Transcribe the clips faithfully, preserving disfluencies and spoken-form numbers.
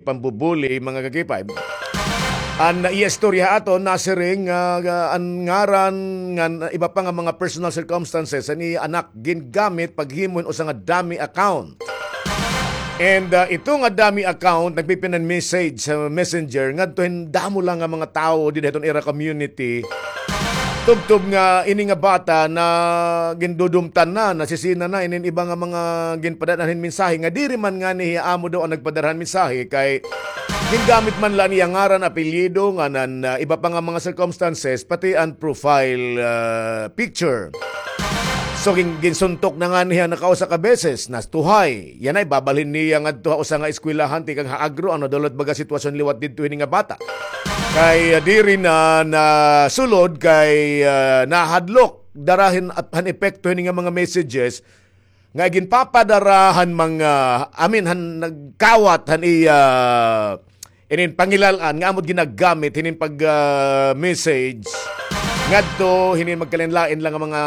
pambubuli, mga ka-K five. An iya istorya ha aton, nasiring nga, ah, an ngaran ngan iba pa nga mga personal circumstances han iya anak gingamit paghimo hin usa nga dummy account. And, ah, ito nga dummy account, nagpipinan message sa Messenger ngadto hin damo la nga mga tawo dida hiton ira community. Tubtob nga ini nga bata na gindudumtan na, nasisina na inin iba nga mga ginpadad-an hin mensahe nga diri man ngani hiya amo daw an nagpadara han mensahe kay gingamit man la an iya ngaran, apelyido, ngan an, ah, iba pa nga mga circumstances, pati an profile, ah, picture. So, gin-, ginsuntok na ngani hiya nakausa ka beses, nastuhay. Yana ibabalhin niya ngadto ha usa nga eskwelahan tikang ha Agro, ano daw la it baga sitwasyon liwat didto hini nga bata. Kay, ah, diri na nasulod kay, ah, nahadlok dara hin, han epekto hini nga mga messages nga ginpapadara han mga, I mean, han nagkawat han iya inin pangilal-an nga amo it ginagamit hinin pag, ah, message ngadto hinin magkalain-lain la nga mga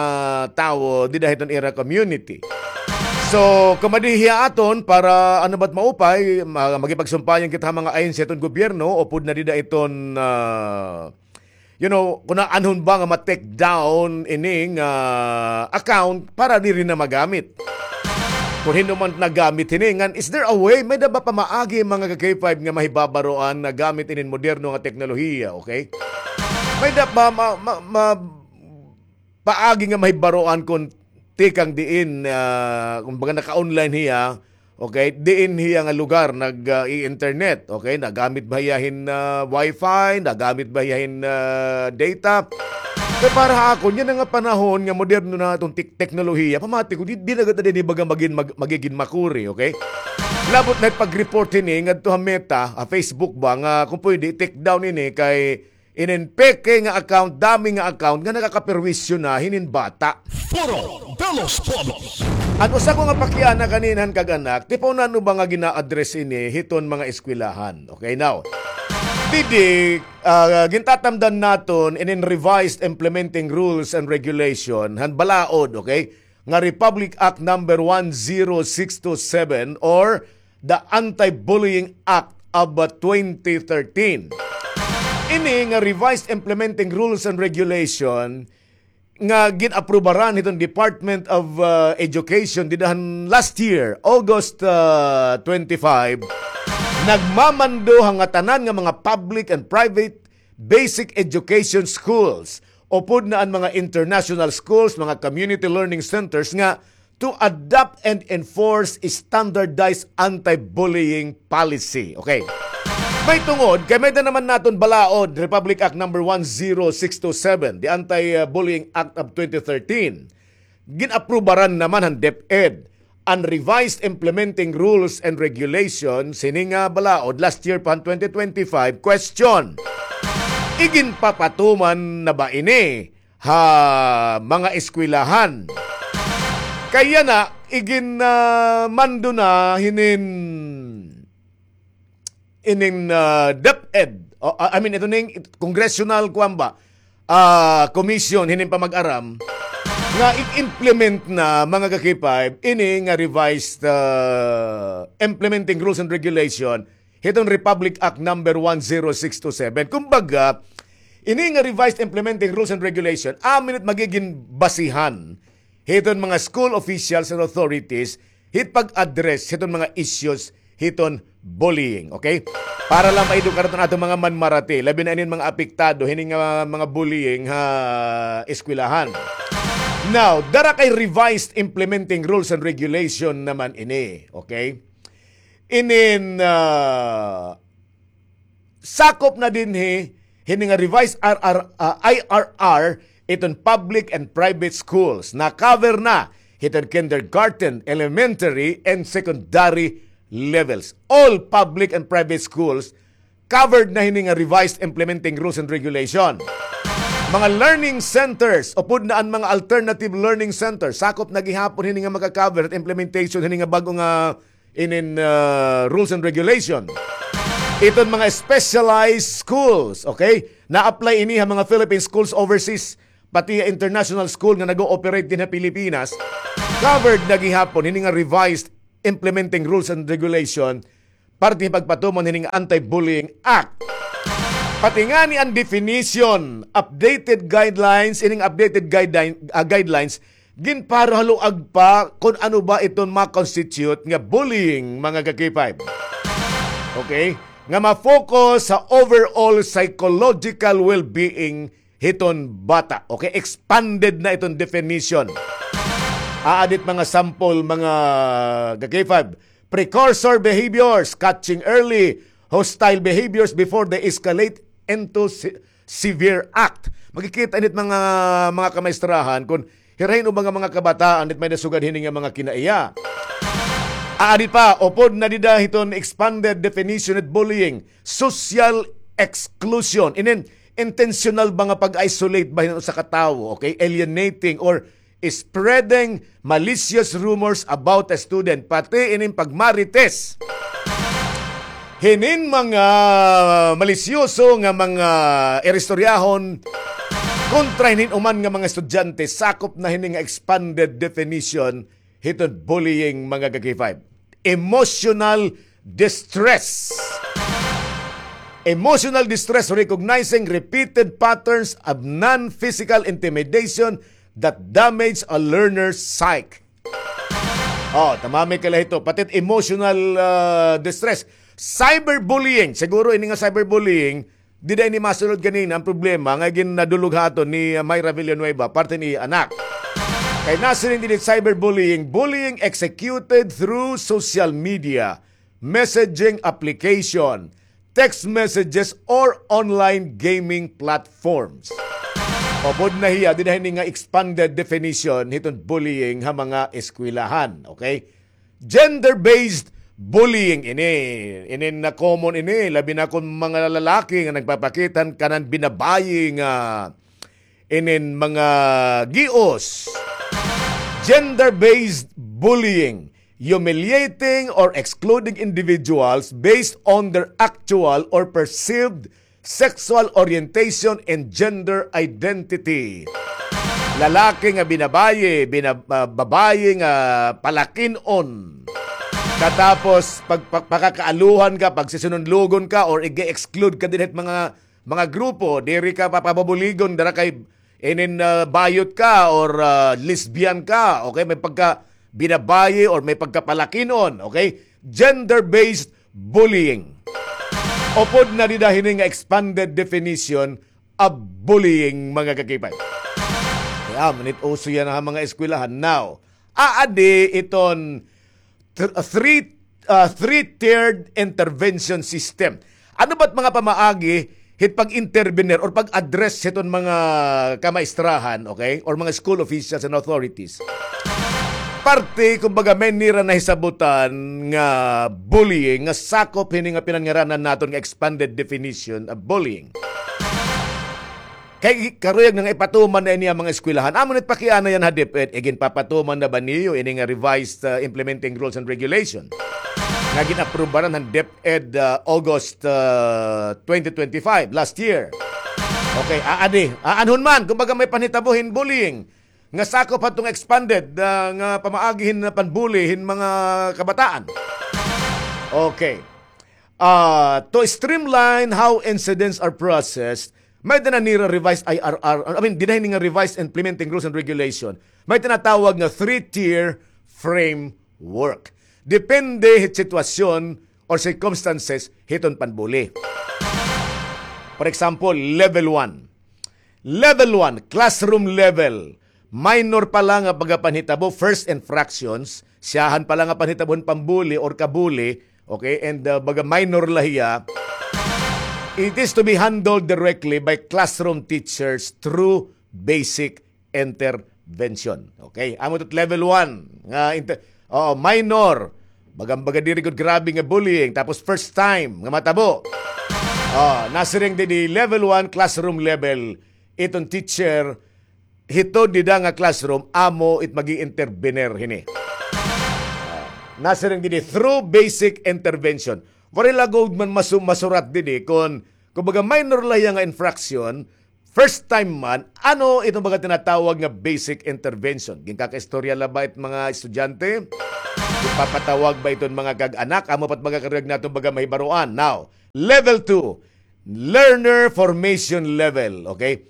tawo dida hiton ira community. So, kumadi hiya aton para ano ba it maupay, ma-, makipagsumpayan kita ha mga ahensya hiton gobyerno, upod na dida iton, ah, you know, kon aanhon ba nga ma-take down ini nga account para diri na magamit. Kon hin-o man nagamit hini, ngan is there a way, may-ada ba pamaagi, mga ka-K five, nga mahibabaroan nga gamit inin moderno nga teknolohiya, okay? May-ada ba ma-, ma-, ma-, paagi nga mahibaroan kon tikang diin, ah, kumbaga naka-online hiya, okay? Diin hiya nga lugar nag, ah, i-internet, okay? Nagamit ba hiya hin, ah, wifi? Nagamit ba hiya hin, ah, data? Kay para ha akon, yana nga panahon nga moderno na iton tek-, teknolohiya, pamati ko, di, di na gad na dinhi baga magin-, mag-, magigin makuri, okay? Labot na it pag-report hini ngadto ha Meta, ha Facebook ba, nga kon pwede, take down ini kay inin peke nga account, dummy nga account nga nakakaperwisyo na hinin bata. Foro de los Pueblos. An usa ko nga pakiana kanina han kag-anak, tipaw nano ba nga gina-address ini hiton mga eskwelahan. Okay, now, didi, ah, gintatamdan naton inin revised implementing rules and regulation han balaod, okay? Nga Republic Act number one zero six two seven or the Anti-Bullying Act of, uh, twenty thirteen. Ini nga revised implementing rules and regulation nga gin-aprubaran hiton Department of, uh, Education dida han last year, August, uh, twenty-five, nagmamando ha ngatanan nga mga public and private basic education schools, upod na an mga international schools, mga community learning centers nga to adopt and enforce standardized anti-bullying policy. Okay. May tungod, kay may-ada naman naton balaod, Republic Act number one zero six two seven, the Anti-Bullying Act of twenty thirteen. Gin-aprubaran naman han DepEd an revised implementing rules and regulations hini nga balaod last year pa han twenty twenty-five. Question, iginpapatuman na ba ini ha mga eskwelahan? Kay yana, igin, ah, mando na hinin inin, ah, DepEd, o, ah, I mean, ito ning congressional, kuwan ba, ah, commission, hinin pamag-aram, nga i-implement na, mga ka-K five, ini nga revised, ah, implementing rules and regulation, hiton Republic Act number one zero six two seven. Kumbaga, ini nga revised implementing rules and regulation, amo ini it magigin basihan hiton mga school officials and authorities hit pag-address hiton mga issues hiton bullying, okay? Para la maedukar iton aton mga manmarati, labi na inin mga apektado hini nga mga bullying ha eskwelahan. Now, dara kay revised implementing rules and regulation naman ini, okay? Inin, ah, sakop na dinhi hini nga revised R R, ah, I R R, iton public and private schools. Na-cover na hiton kindergarten, elementary, and secondary levels. All public and private schools covered na hini nga revised implementing rules and regulation. Mga learning centers, upod na an mga alternative learning centers, sakop na gihapon hini nga maka-cover it implementation hini nga bag-o nga inin, ah, rules and regulation. Iton mga specialized schools, okay? Na-apply ini ha mga Philippine schools overseas, pati ha international school nga nag-ooperate dinhi ha Pilipinas. Covered na gihapon hini nga revised implementing rules and regulation parte pagpatuman hining Anti-Bullying Act. Pati ngani an definition, updated guidelines, ining updated guideline, ah, guidelines, ginparuhaluag pa kon ano ba iton ma-constitute nga bullying, mga ka-K five. Okay? Nga ma-focus sa overall psychological well-being hiton bata. Okay? Expanded na iton definition. Aadit mga sample, mga ka-K five. Precursor behaviors, catching early hostile behaviors before they escalate into se-, severe act. Makikita init mga, mga kamaestrahan kon hirahin o mga, mga kabataan it may nasugad hini nga mga kinaiya. Aadi pa, upod na dida hiton expanded definition of bullying, social exclusion. Inin intentional ba nga pag-isolate ba hiton usa ka tawo, okay? Alienating or spreading malicious rumors about a student, pati inin pagmarites. Hinin mga malisyoso nga mga iristoryahon kontra hinin uman nga mga estudyante, sakop na hini nga expanded definition hiton bullying, mga ka-K five. Emotional distress. Emotional distress recognizing repeated patterns of non-physical intimidation that damage a learner's psyche. Oh, tamami ka la hito. Pati emotional, ah, distress. Cyberbullying. Siguro ini nga cyberbullying, dida ini masulod ganina an problema nga gin-, nadulog ha aton ni, ah, Myra Villanueva, parte ni anak. Kay nasiring didi cyberbullying, bullying executed through social media, messaging application, text messages, or online gaming platforms. Upod na hiya, dida hini nga expanded definition hiton bullying ha mga eskwelahan, okay? Gender-based bullying ini. Ini na common ini, labi na kon mga lalaki nga nagpapakita han kanan binabayi nga inin mga gios. Gender-based bullying, humiliating or excluding individuals based on their actual or perceived sexual orientation and gender identity. Lalaki nga binabayi, bina-, ah, babayi nga palakin-on. Katapos, pag-, pag-, pakakaaluhan ka, pagsisinunlugon ka, or ig-exclude ka dinhi ha mga, mga grupo, diri ka papabubuligon, dara kay inin, ah, bayot ka, or, ah, lesbian ka, okay? May pagka binabayi or may pagkapalakin-on, okay? Gender-based bullying. Upod na dida hini nga expanded definition of bullying, mga ka-K five. Kay amo nit uso yana ha mga eskwelahan. Now, aadi iton th-, three, ah, three-tiered intervention system. Ano ba't mga pamaagi hit pag-intervenir or pag-address hiton mga kamaestrahan, okay? Or mga school officials and authorities? Parte, kumbaga, may nira nahisabutan nga bullying, nga sakop hini nga pinanngaranan naton nga expanded definition of bullying. Kay karuyag na nga ipatuman na ini ha mga eskwelahan. Amo nit pakiana yana ha DepEd, iginpapatuman na ba niyo ini nga revised, uh, implementing rules and regulation nga gin-aprubaran han DepEd, uh, August, uh, twenty twenty-five, last year. Okay, aadi, aanhon man, kumbaga may panhitabo hin bullying nga sakop hadto nga expanded, uh, nga pamaagi hin panbully hin mga kabataan. Okay. Ah, to streamline how incidents are processed, may-ada na nira revised I R R, I mean, dida hini nga revised implementing rules and regulation, may tinatawag nga three-tier framework. Depende hit sitwasyon or circumstances hiton panbully. For example, level one. Level one, classroom level. Minor pa la nga pagkapanhitabo, first infractions, siyahan pa la nga panhitabo hin pambully or kabully, okay, and, uh, baga minor la hiya, it is to be handled directly by classroom teachers through basic intervention. Okay? Amo ito level one nga inter-, oo, minor. Baga, baga diri gud grabe nga bullying. Tapos first time nga matabo. Oh, nasiring didi level one, classroom level. Iton teacher, hito dida nga classroom, amo it mag-i-intervenir hini. Ah, nasiring didi through basic intervention. Waray la gud man masu-, masurat didi kon, kumbaga, minor la hiya nga infraction, first time man, ano iton mga tinatawag nga basic intervention? Ginkakaistorya la ba it mga estudyante? Ipapatawag ba iton mga kag-anak? Amo pa it mga karuyag naton baga mahibaroan. Now, level two, learner formation level. Okay?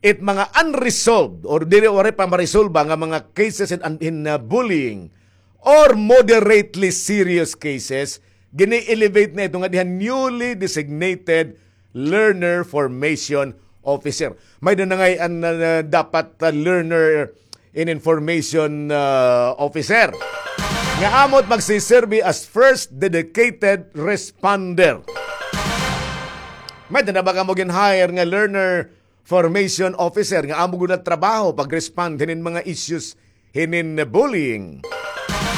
It mga unresolved or diri waray pa maresolba nga mga cases in, in, uh, bullying or moderately serious cases, gini-elevate na ito ngadi han newly designated learner formation officer. May-ada na ngay-an, uh, dapat, uh, learner in information, uh, officer nga amo it magsiserbi as first dedicated responder. May-ada na ba kamo gin-hire nga learner formation officer nga amo gud nagtrabaho pag-respond hinin mga issues hinin bullying?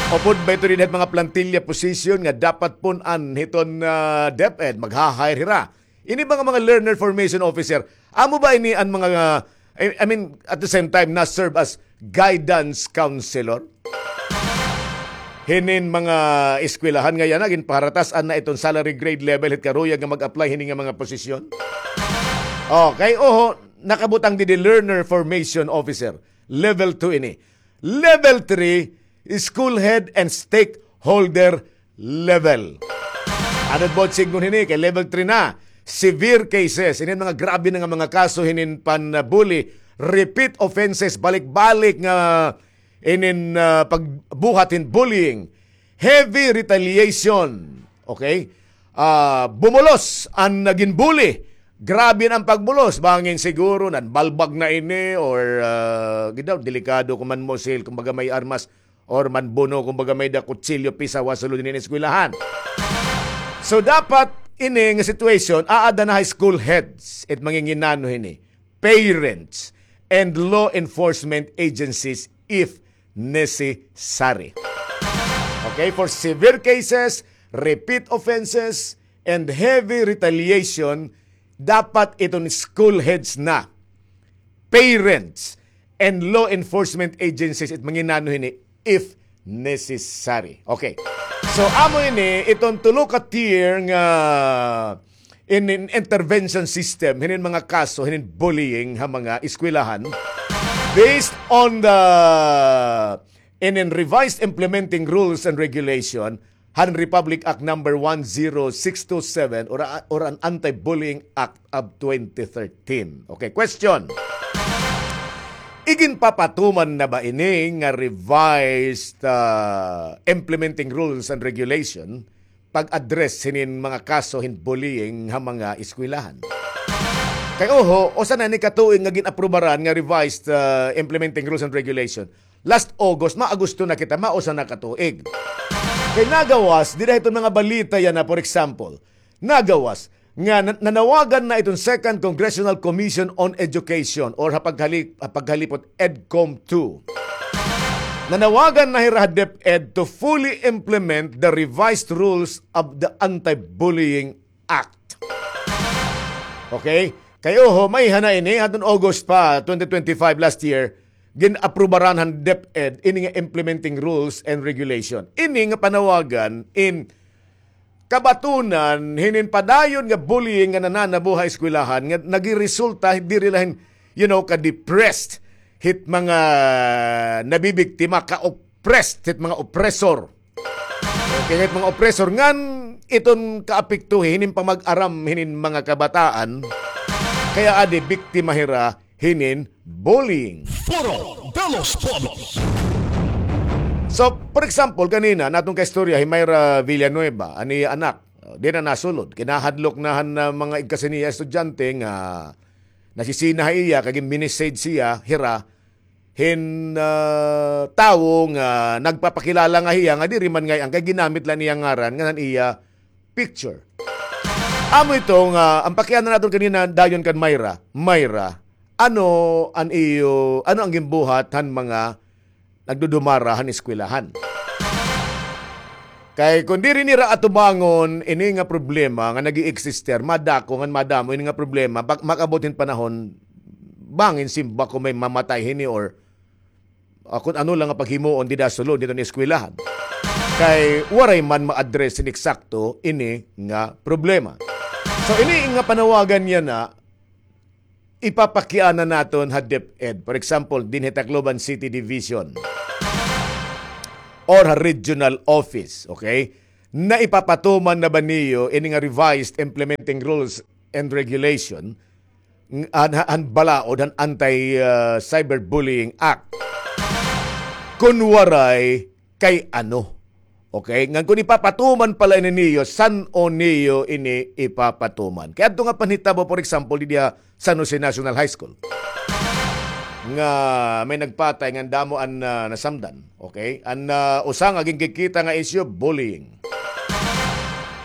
Upod ba ito dinhi ha mga plantilla position nga dapat pun-an hiton, ah, DepEd, magha-hire hira? Ini ba nga mga learner formation officer, amo ba ini an mga, ah, I, I mean, at the same time, na-serve as guidance counselor hinin mga eskwelahan nga yana, ginpaharatas-an na iton salary grade level hit karuyag nga mag-apply hini nga mga posisyon? Okay, oho, nakabutang didi learner formation officer. Level two ini. Level three, school head and stakeholder level. Ano it buot sidngon hini? Kay level three na. Severe cases. Inin mga grabe na nga mga kaso hinin pan-bully. Repeat offenses. Balik-balik nga inin, ah, pagbuhat hin bullying. Heavy retaliation. Okay? Ah, bumulos an nagin bully. Grabe na an pagbulos. Bangin siguro, nanbalbag na ini or, ah, gid daw, delikado kon manmusil, kumbaga may armas, or manbuno, kumbaga may-ada kutsilyo, pisaw ha sulod hinin eskwelahan. So, dapat ini nga situation, aada na ha school heads, it manginginano hini, parents, and law enforcement agencies if necessary. Okay, for severe cases, repeat offenses, and heavy retaliation, dapat iton school heads na, parents, and law enforcement agencies it manginano hini if necessary. Okay. So, amo ini, iton tulo ka tier nga in, in intervention system, hinin mga kaso, hinin bullying ha mga eskwelahan, based on the inin revised implementing rules and regulation, han Republic Act number one zero six two seven or, or an Anti-Bullying Act of twenty thirteen. Okay, question. Iginpapatuman na ba ini nga revised, ah, implementing rules and regulation pag-address hinin mga kaso hin bullying ha mga eskwelahan? Kay oho, usa na ini ka tuig nga gin-aprubaran nga revised, ah, implementing rules and regulation. Last August, ma-Agosto na kita, mausa na ka tuig. Kay nagawas, dida hiton mga balita yana, for example, nagawas nga na-, nanawagan na iton Second Congressional Commission on Education or ha paghali-, ha paghalipot EDCOM two. Nanawagan na hira ha DepEd to fully implement the revised rules of the Anti-Bullying Act. Okay? Kay oho, may hana ini, hadton August pa, twenty twenty-five, last year, gin-aprubaran han DepEd ini nga implementing rules and regulation. Ini nga panawagan in kabatunan hinin padayon nga bullying nga nananabo ha eskwelahan nga nagiresulta diri la hin, you know, ka-depressed hit mga nabibiktima, ka-oppressed hit mga oppressor. Okay, hit mga oppressor ngan iton kaapektuhi hinin pamag-aram hinin mga kabataan. Kay aadi biktima hira hinin bullying. Foro de los Pueblos. So, for example, kanina, an aton kaistorya, hi Myra Villanueva, an iya anak, di na nasulod. Kinahadlok na han, ah, mga igkasi niya estudyante nga nasisina ha iya, kay gin-message hiya, hira, hin, ah, tawo nga nagpapakilala nga hiya, nga diri man ngay-an, kay ginamit la an iya ngaran, ngan an iya picture. Amo ito nga, an pakiana naton kanina dayon kan Myra, Myra, ano an iyo, ano an ginbuhat han mga nagdudumara han eskwelahan? Kay kon diri nira atubangon ini nga problema nga nag-i-exist, madako ngan madamo ini nga problema, bak-, mag-abot hin panahon, bangin simba kon may mamatay hini or ah, kon ano la nga paghimuon dida sulod hiton eskwelahan. Kay waray man ma-address hin eksakto ini nga problema. So, ini nga panawagan yana, ipapakiana naton ha DepEd. For example, dinhi Tacloban City Division. or ha regional office, okay? Naipapatuman na ba niyo ini nga revised implementing rules and regulation, ng-, han, han balaod, han Anti, ah, Cyberbullying Act? Kun waray, kay ano? Okay? Ngan kun ipapatuman pala ini niyo, san-o niyo ini ipapatuman? Kay adto nga panhitabo, for example, didi ha San Jose National High School, nga may nagpatay ngan damo an, ah, nasamdan. Okay? An, ah, usa nga ginkikita nga isyu, bullying.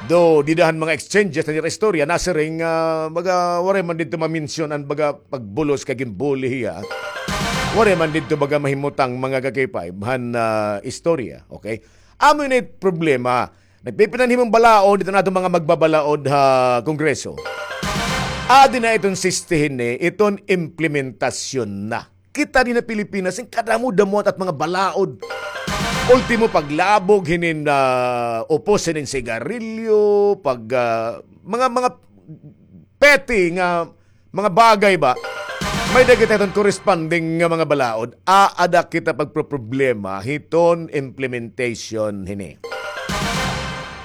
Though, dida han mga exchanges han ira istorya, nasiring, ah, baga, waray man didto ma-mention an baga pagbulos kay ginbully hiya. Waray man didto baga mahimutang mga ka-K five han, ah, istorya. Okay? Amo ini problema. Nagpipinanhimong balaod, didto an aton mga magbabalaod ha Kongreso. Adi na iton sistihin ni, iton implementasyon na. Kita dinhi ha Pilipinas, in kadamo-damo it mga balaod. Ultimo, paglabog hinin, ah, upos hinin sigarilyo, pag, ah, mga, mga petty nga mga bagay ba, may-ada kita hiton corresponding nga mga balaod. Aada kita pagproproblema hiton implementation hini.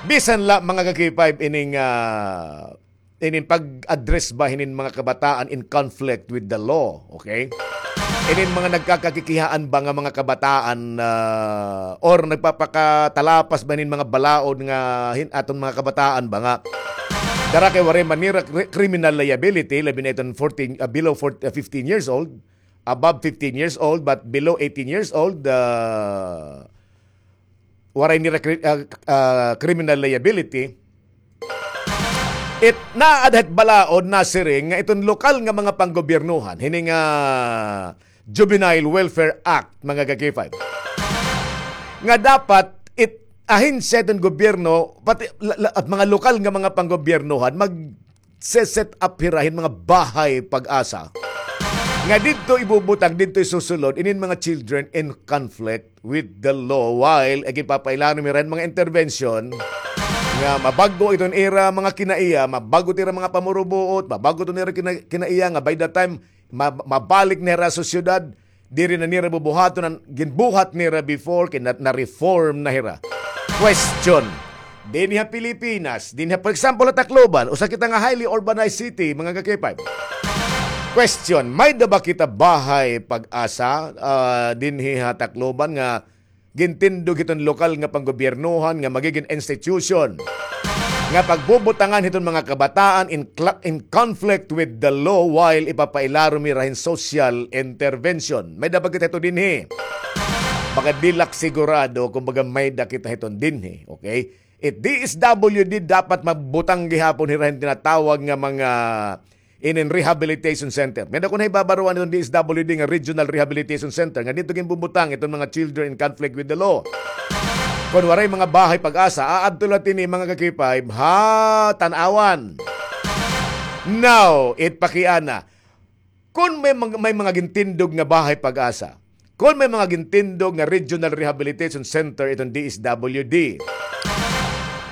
Bisan la, mga ka-K five, ining, ah, ining pag-address ba hinin mga kabataan in conflict with the law, okay? Inin mga nagkakakikihaan ba nga mga kabataan, ah, or nagpapakatalapas ba hinin mga balaod nga hin-, aton mga kabataan ba nga dara kay waray man nira cri-, criminal liability, labi na iton fourteen, ah, below fourteen, ah, fifteen years old, above fifteen years old, but below eighteen years old, ah, waray nira cri-, ah, ah, criminal liability. It naadhat balaod, nasiring nga iton lokal nga mga panggobyernohan, hini nga Juvenile Welfare Act, mga ka-K five, nga dapat it ahensya iton gobyerno, pati la-, la-, at mga lokal nga mga panggobyernohan, mag-se-set up hira hin mga bahay pag-asa nga didto ibubutang, didto isusulod inin mga children in conflict with the law, while ginpapailarom hira hin mga intervention nga mabag-o iton ira mga kinaiya, mabag-o it ira mga pamurubuot, mabag-o iton ira kina-, kinaiya nga by the time ma-, mabalik na hira ha sosyedad, diri na nira bubuhaton an ginbuhat nira before, kay na-, na-reform na hira. Question. Dinhi ha Pilipinas, dinhi ha, for example, ha Tacloban, usa kita nga highly urbanized city, mga ka-K five. Question, may-ada ba kita bahay pag-asa, ah, dinhi ha Tacloban nga gintindog hiton lokal nga panggobyernohan nga magigin institution nga pagbubutangan hiton mga kabataan in cla-, in conflict with the law while ipapailarom hira hin social intervention? May-ada ba kita hito dinhi? Baga di la ak sigurado kon baga may-ada kita hiton dinhi, okay? It D S W D dapat magbutang gihapon hira hin tinatawag nga mga inin rehabilitation center. May-ada ko nahibabaroan iton D S W D nga Regional Rehabilitation Center nga didto ginbubutang iton mga children in conflict with the law. Kon waray mga bahay pag-asa, aadto la hini, mga ka-K five, ha Tanauan. Now, it pakiana. Kon may mga, may mga gintindog nga bahay pag-asa, kon may mga gintindog nga Regional Rehabilitation Center iton D S W D.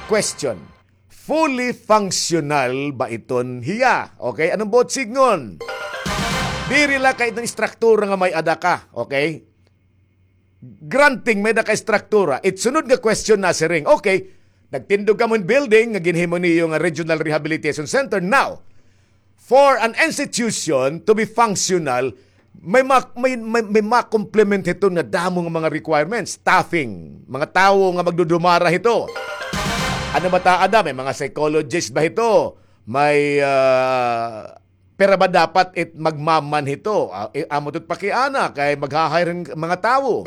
Question, fully functional ba iton hiya? Okay, ano an buot sidngon? Diri la kay iton istruktura nga may-ada ka, okay? Granting may-ada ka istruktura. It sunod nga question, nasiring, okay, nagtindog kamo hin building nga ginhimo niyo nga Regional Rehabilitation Center. Now, for an institution to be functional, may ma-, may, may, may ma-complement hiton nga damo nga mga requirements, staffing, mga tawo nga magdudumara hito. Ano ba ta ada? May mga psychologist ba hito? May, ah, pira ba dapat it magmaman hito? Ah, i-, amo ito it pakiana kay magha-hire hin mga tawo.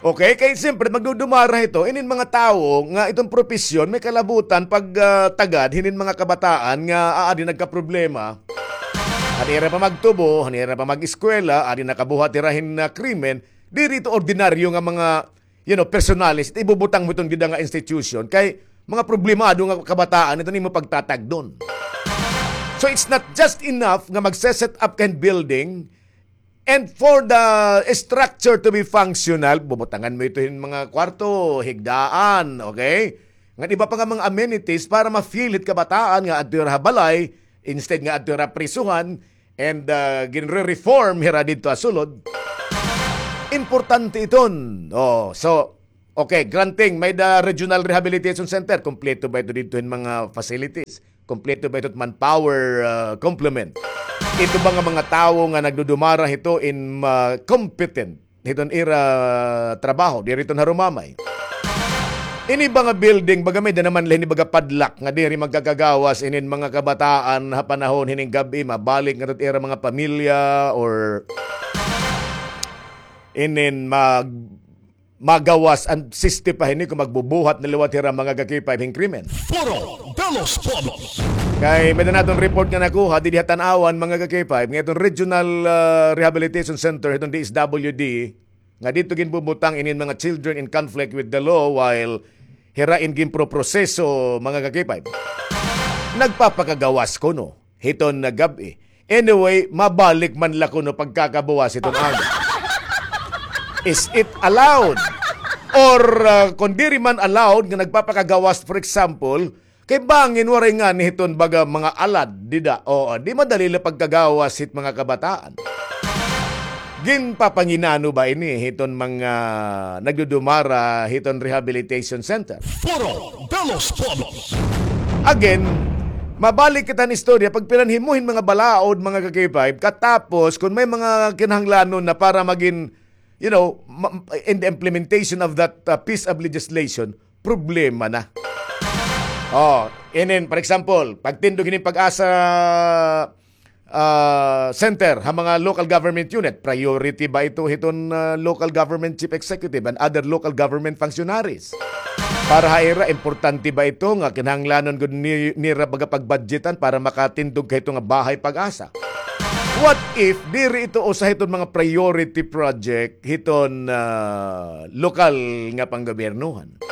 Okay, kay siyempre, magdudumara hito, inin mga tawo nga iton propesyon may kalabutan pag, ah, tagad hinin mga kabataan nga aadi nagkaproblema. Han ira pamagtubo, han ira pamag-eskwela, adi nakabuhat hira hin, ah, krimen, diri ito ordinaryo nga mga, you know, personalis, it ibubutang mo iton dida nga institution, kay mga problemado nga kabataan, ito nimo pagtatagdon. So it's not just enough nga magse-set up ka hin building, and for the structure to be functional, bubutangan mo ito hin mga kwarto, higdaan, okay? Ngan iba pa nga mga amenities para ma-feel hit kabataan nga adto hira ha balay, instead nga adto hira ha prisuhan, and, ah, ginre-reform hira didto ha sulod. In Importante iton. Oh, so, okay, granting, may-ada Regional Rehabilitation Center. Kompleto ba ito didto hin mga facilities? Kompleto ba ito manpower, ah, complement? Ito ba nga mga tawo nga nagdudumara hito in, ah, competent hiton ira trabaho, diri iton harumamay? Ini ba nga building, baga may-ada naman la hini baga padlock nga diri magkakagawas inin mga kabataan ha panahon hining gab-i, mabalik ngadto ha ira mga pamilya or inin mag-, magawas an siste pa hini kon magbubuhat na liwat hira mga ka-K five hin krimen. Foro de los Pueblos. Kay may-ada naton report nga nakuha didi ha Tanauan, mga ka-K five, nga iton Regional, ah, Rehabilitation Center hiton D S W D, nga didto ginbubutang inin mga children in conflict with the law while hira in ginproproseso, mga ka-K five. Nagpapakagawas kuno hiton nga gab-i. Anyway, mabalik man la kuno pagkakabuwas hiton amo. Is it allowed? Or, ah, kon diri man allowed nga nagpapakagawas, for example, kay bangin waray ngani hiton baga mga alad dida. Oo, di madali la pagkagawas hit mga kabataan. Ginpapanginano ba ini hiton mga nagdudumara hiton rehabilitation center? Foro de los Pueblos. Again, mabalik kita han istorya, pagpinanhimo hin mga balaod, mga ka-K five, katapos kon may mga kinahanglanon na para magin, you know, ma-, in the implementation of that, uh, piece of legislation, problema na. Oh, inin, for example, pagtindog hinin PAGASA, ah, center ha mga local government unit, priority ba ito hiton, ah, local government chief executive and other local government functionaries? Para ha ira, importante ba ito nga kinahanglanon gud ni-, nira baga pagbudgetan para makatindog ka hito nga bahay PAGASA? What if diri ito usa hiton mga priority project hiton, ah, lokal nga panggobyernohan?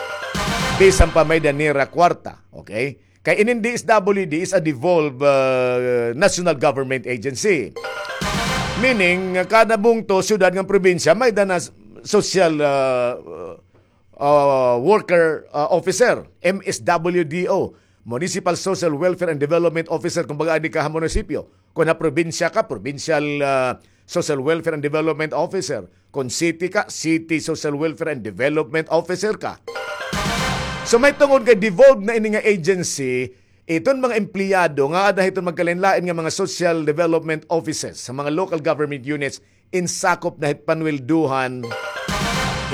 Bisan pa may-ada nira kwarta, okay? Kay inin D S W D is a devolved, uh, national government agency. Meaning, kada bungto, syudad ngan probinsya, may-ada na social, uh, uh, worker, uh, officer, M S W D O, Municipal Social Welfare and Development Officer, kumbaga, adi ka ha munisipyo. Kon ha probinsya ka, Provincial, uh, Social Welfare and Development Officer. Kon city ka, City Social Welfare and Development Officer ka. So, mahitungod kay devolved na ini nga agency, iton mga empleyado nga aada hiton magkalain-lain nga mga social development offices sa mga local government units, insakop na hit panweldohan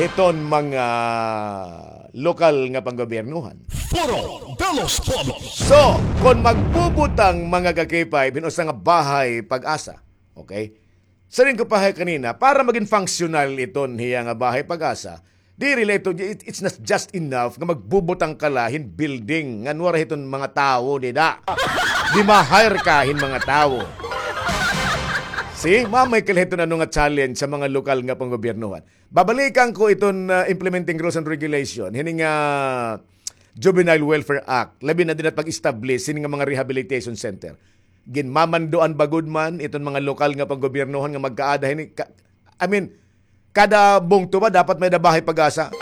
hiton mga lokal nga panggobyernohan. Foro de los Pueblos. So, kon magbubutang mga ka-K five hin usa nga bahay PAGASA, okay? Siring ko pa hay kanina, para magin functional iton hiya nga bahay PAGASA, diri la ito, it, it's not just enough nga magbubutang ka la hin building ngan waray hiton mga tawo dida. Di ma-hire ka hin mga tawo. See, mamay ka la hiton ano nga challenge sa mga lokal nga panggobyernohan. Babalikan ko iton, ah, implementing rules and regulation hini nga Juvenile Welfare Act, labi na dida pag-establish hini nga mga rehabilitation center. Ginmamanduan ba gud man iton mga lokal nga panggobyernohan nga magkaada hini ka-, I mean, kada bungto ba dapat may-ada bahay PAGASA?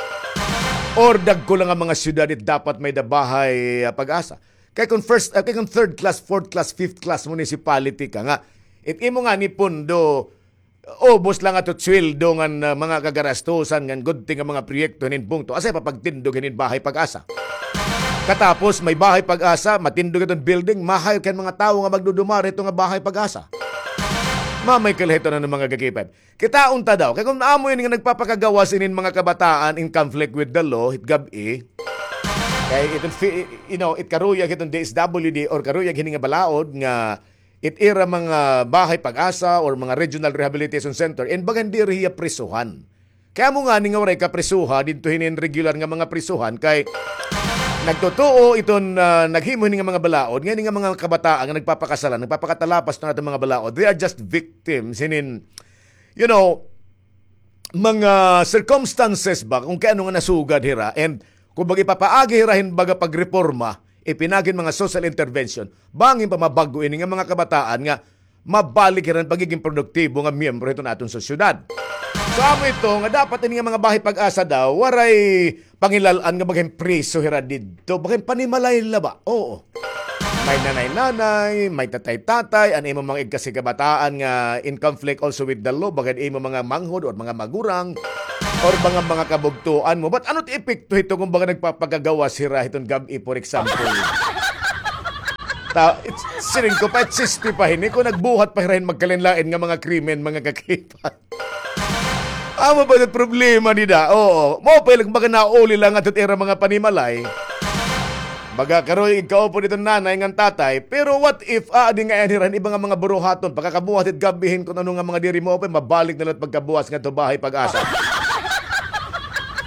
Or dagko la nga mga syudad it dapat may-ada bahay, ah, PAGASA? Kay kon first, ah, kay kon third class, fourth class, fifth class municipality ka nga, it imo ngani pondo, ubos la nga it sweldo ngan, ah, mga kagarastusan ngan gudti nga mga proyekto hinin bungto, asya pa pagtindog hinin bahay PAGASA. Katapos may bahay PAGASA, matindog iton building, ma-hire ka hin mga tawo nga magdudumara hito nga bahay PAGASA. Mamay ka la hiton ano mga ka-K five. Kitaon ta daw. Kay kon amo ini nga nagpapakagawas inin mga kabataan in conflict with the law, it gab-i. Kay iton fi-, you know, it karuyag hiton D S W D or karuyag hini nga balaod nga it ira mga bahay PAGASA or mga regional rehabilitation center, in baga diri hiya prisuhan. Kay amo ngani nga waray kaprisuha didto hinin regular nga mga prisuhan kay nagtutuo iton, ah, naghimo hini nga mga balaod, nga hini nga mga kabataan nga nagpapakasala, nagpapakatalapas iton aton mga balaod, they are just victims hinin, you know, mga circumstances ba kung kay ano nga nasugad hira, and kung baga ipapaagi hira hin baga pagreporma, ipinaagi hin mga social intervention, bangin pa mabag-o ini nga mga kabataan nga mabalik hira hin pagiging produktibo nga miyembro hiton aton sosyedad. So, amo ito nga dapat ini nga mga bahay PAGASA daw, waray pangilal-an nga baga hin priso hira didto, baga hin panimalay la ba? Oo. May nanay-nanay, may tatay-tatay, an imo mga igkasi kabataan nga in conflict also with the law, baga imo mga manghod or mga magurang, or mga, mga kabugtuan mo. But ano ti epekto hito kung baga nagpapakagawas hira hiton gab-i, for example? Ta, it's, siring ko pa, it's sixty pa hini, kung nagbuhat pa hira hin magkalain-lain nga mga krimen, mga kakipay. Amo ba it problema nida? Oo. Mao pa ila baga nauli la ngadto it ira mga panimalay. Baga karon igkaupod iton nanay ngan tatay. Pero what if, ah, adi nga iyan hira hin iba nga mga buruhaton, pagkakabuhat it gab-i hin kun ano nga mga diri maupay, mabalik na la it pagkabuhat ngadto bahay pag-asa.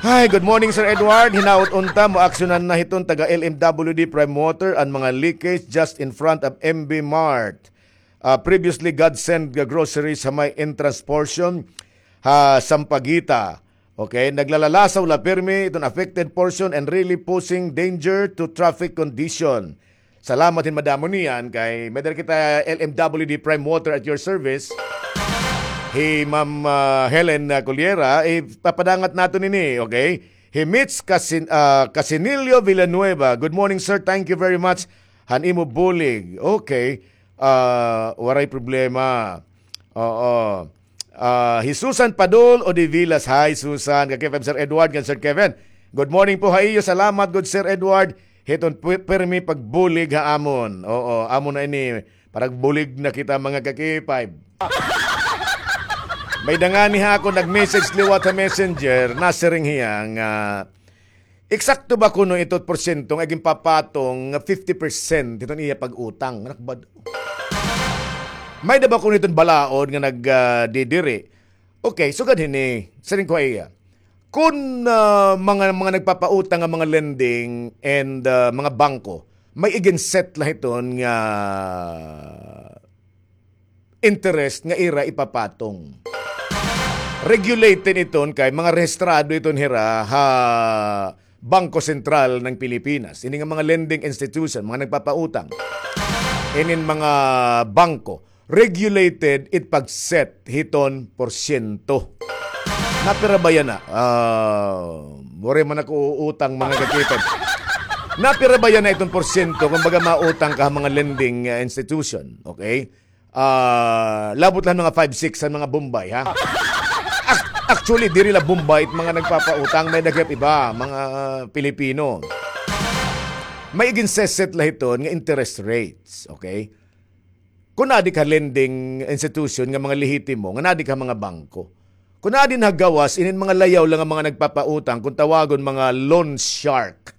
Hi, good morning, Sir Edward. Hinaot unta, mo-aksyonan na hiton taga L M W D Prime Water an mga leakage just in front of M B Mart. Ah, previously, God Send Groceries ha may entrance portion ha Sampaguita. Okay, naglalalasaw la pirmi iton affected portion and really posing danger to traffic condition. Salamat hin madamo niyan kay may dara kita L M W D Prime Water at your service. Hi Ma'am, ah, Helen, ah, Culiera, ipapadangat naton ini, okay? Hi Mitch Casin-, ah, Casinillo Villanueva. Good morning, sir. Thank you very much han imo bulig. Okay. Ah, waray problema. Oo. Ah, hi Susan Padul o de Villas. Hi, Susan. Ka-K five, Sir Edward, kan Sir Kevin. Good morning po ha iyo. Salamat, good Sir Edward. Hiton pi-, pirmi pagbulig ha amon. Oo, amo na ini. Paragbulig na kita, mga ka-K five. May da ngani ha ako nag-message liwat ha Messenger, nasiring hiya nga, eksakto ba kuno ito porsyento nga ginpapatong nga fifty percent hiton iya pag-utang? Anak ba daw? May da ba kuno iton balaod nga nag, ah, didiri? Okay, sugad hini, siring ko ha iya. Kun, ah, mga, mga nagpapautang nga mga lending and, ah, mga bangko, may igin-set la hiton nga interest nga ira ipapatong. Regulated iton kay mga rehistrado iton hira ha Bangko Sentral ng Pilipinas. Ini nga mga lending institution, mga nagpapautang. Inin mga bangko, regulated it pag-set hiton porsyento. Napira ba yana? Ah, waray man ako uutang, mga ka-K five. Napira ba yana iton porsyento? Kumbaga, mautang ka ha mga lending, ah, institution, okay? Ah, labot la han mga five six han mga Bombay, ha? Ac-, actually, diri la Bombay it mga nagpapautang, may da gihap iba, mga Pilipino. May igin-set la hiton nga interest rates, okay? Kun adi ka lending institution nga mga lehitimo, nga nadi ka mga bangko. Kun adi na gawas, inin mga layaw la nga mga nagpapautang, kun tawagon mga loan shark.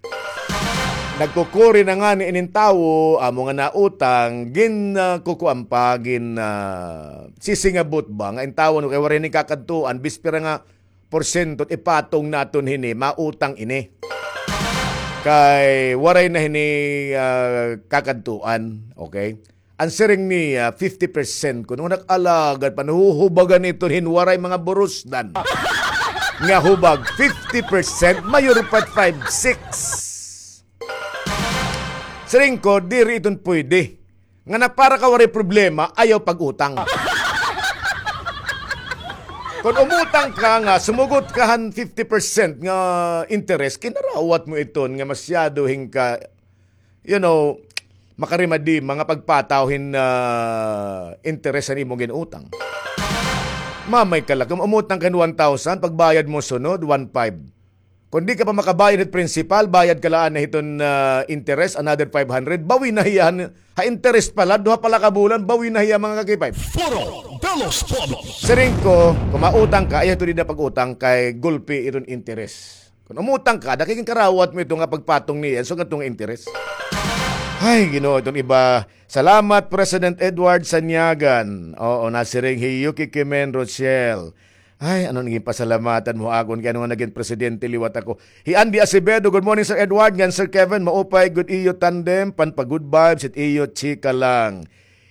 Nagkukuri na ngani inin tawo, amo nga nautang, gin, ah, kukuan pa, gin, ah, sisingabot ba, nga in tawo, no, kay waray ni kakadtuan, bispera nga porsyento, ipatong naton hini, mautang ini. Kay waray na hini, ah, kakadtuan, okay? An siring niya, fifty percent kuno, nag-alagad pa, nahuhubagan ito hin waray mga burusdan. Nga hubag, fifty percent, mayor pa five six. Siring ko, diri iton pwede. Nga na para ka waray problema, ayaw pag-utang. Kon umutang ka nga, sumugot ka han fifty percent nga interest, kinarawat mo iton nga masyado hin ka, you know, makarimadima nga pagpataw hin, ah, interes han imo gin-utang. Mamay ka la, kun umutang ka hin one thousand, pagbayad mo sunod, one five. Kon di ka pa makabayad hit principal, bayad ka la anay hiton, ah, interes, another five hundred, bawi na hiya han, ha interes pa la, duha pa la ka bulan, bawi na hiya, mga ka-K five. Foro de los Pueblos. Siring ko, kun mautang ka, ayaw ito dida pag-utang kay gulpi iton interes. Kun umutang ka, dako gin karawat mo ito nga pagpatong niya, so nga ito nga interes. Ay, Ginoo, iton iba. Salamat, President Edward Sanyagan. Oo, nasiring hi Yuki Kimen Rochelle. Ay, ano nagin pasalamatan mo akon kay ano nga nagin presidente liwat ako. Hi Andy Acevedo, good morning, Sir Edward, ngan Sir Kevin, maupay gud iyo tandem, pan pa-good vibes, it iyo chika lang.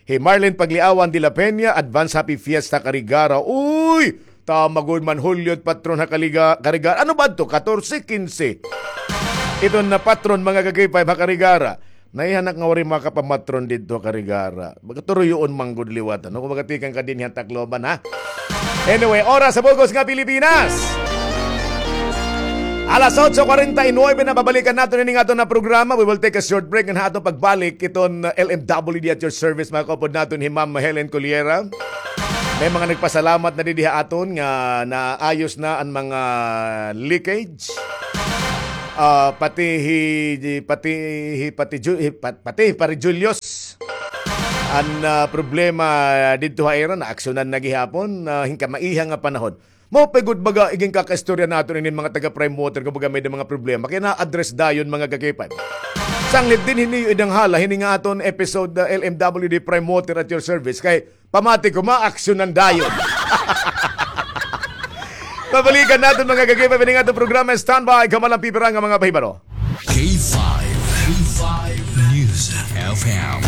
Hi Marlene Pagliawan de la Peña, advance happy fiesta Carigara. Uy! Tama gud man, Hulyo it patron ha Kaliga-, Carigara. Ano ba ito? Katorse, kinse. Ito na patron, mga ka-K five ha Carigara. Naihanak nga waray makapamatron didto ha Carigara. Baga turuyoon man gud liwat, ano? Kung baga tikang ka dinhi ha Tacloban, ha? Anyway, oras sa bug-os nga Pilipinas. Alas otso kwarenta y nuebe na, babalikan naton ini nga aton nga programa. We will take a short break, ngan ha aton pagbalik, iton, uh, L M W D at your service, makaupod naton hi Ma'am Helen Cullera. May mga nagpasalamat na didi ha aton nga naayos na an mga leakage. Ah, pati hi, pati hi, pati Ju-, hi, pat-, pati hi Pare Julius. An, ah, problema didto ha ira, naaksyonan na gihapon, ah, hin kamaiha nga panahon. Mao pa gud baga igin kakaistorya naton inin mga taga Prime Water, kumbaga may mga problema. Kaya na-address dayon, mga kagipay. Sanglit dinhi niyo idanghala hini nga aton episode, ah, L M W D Prime Water at your service. Kay pamati ko, maaksyonan dayon. Babalikan naton, mga kagipay, hini nga aton programa. Standby, kamo la hin pipira nga mga pahibaro. K five, K five News F M,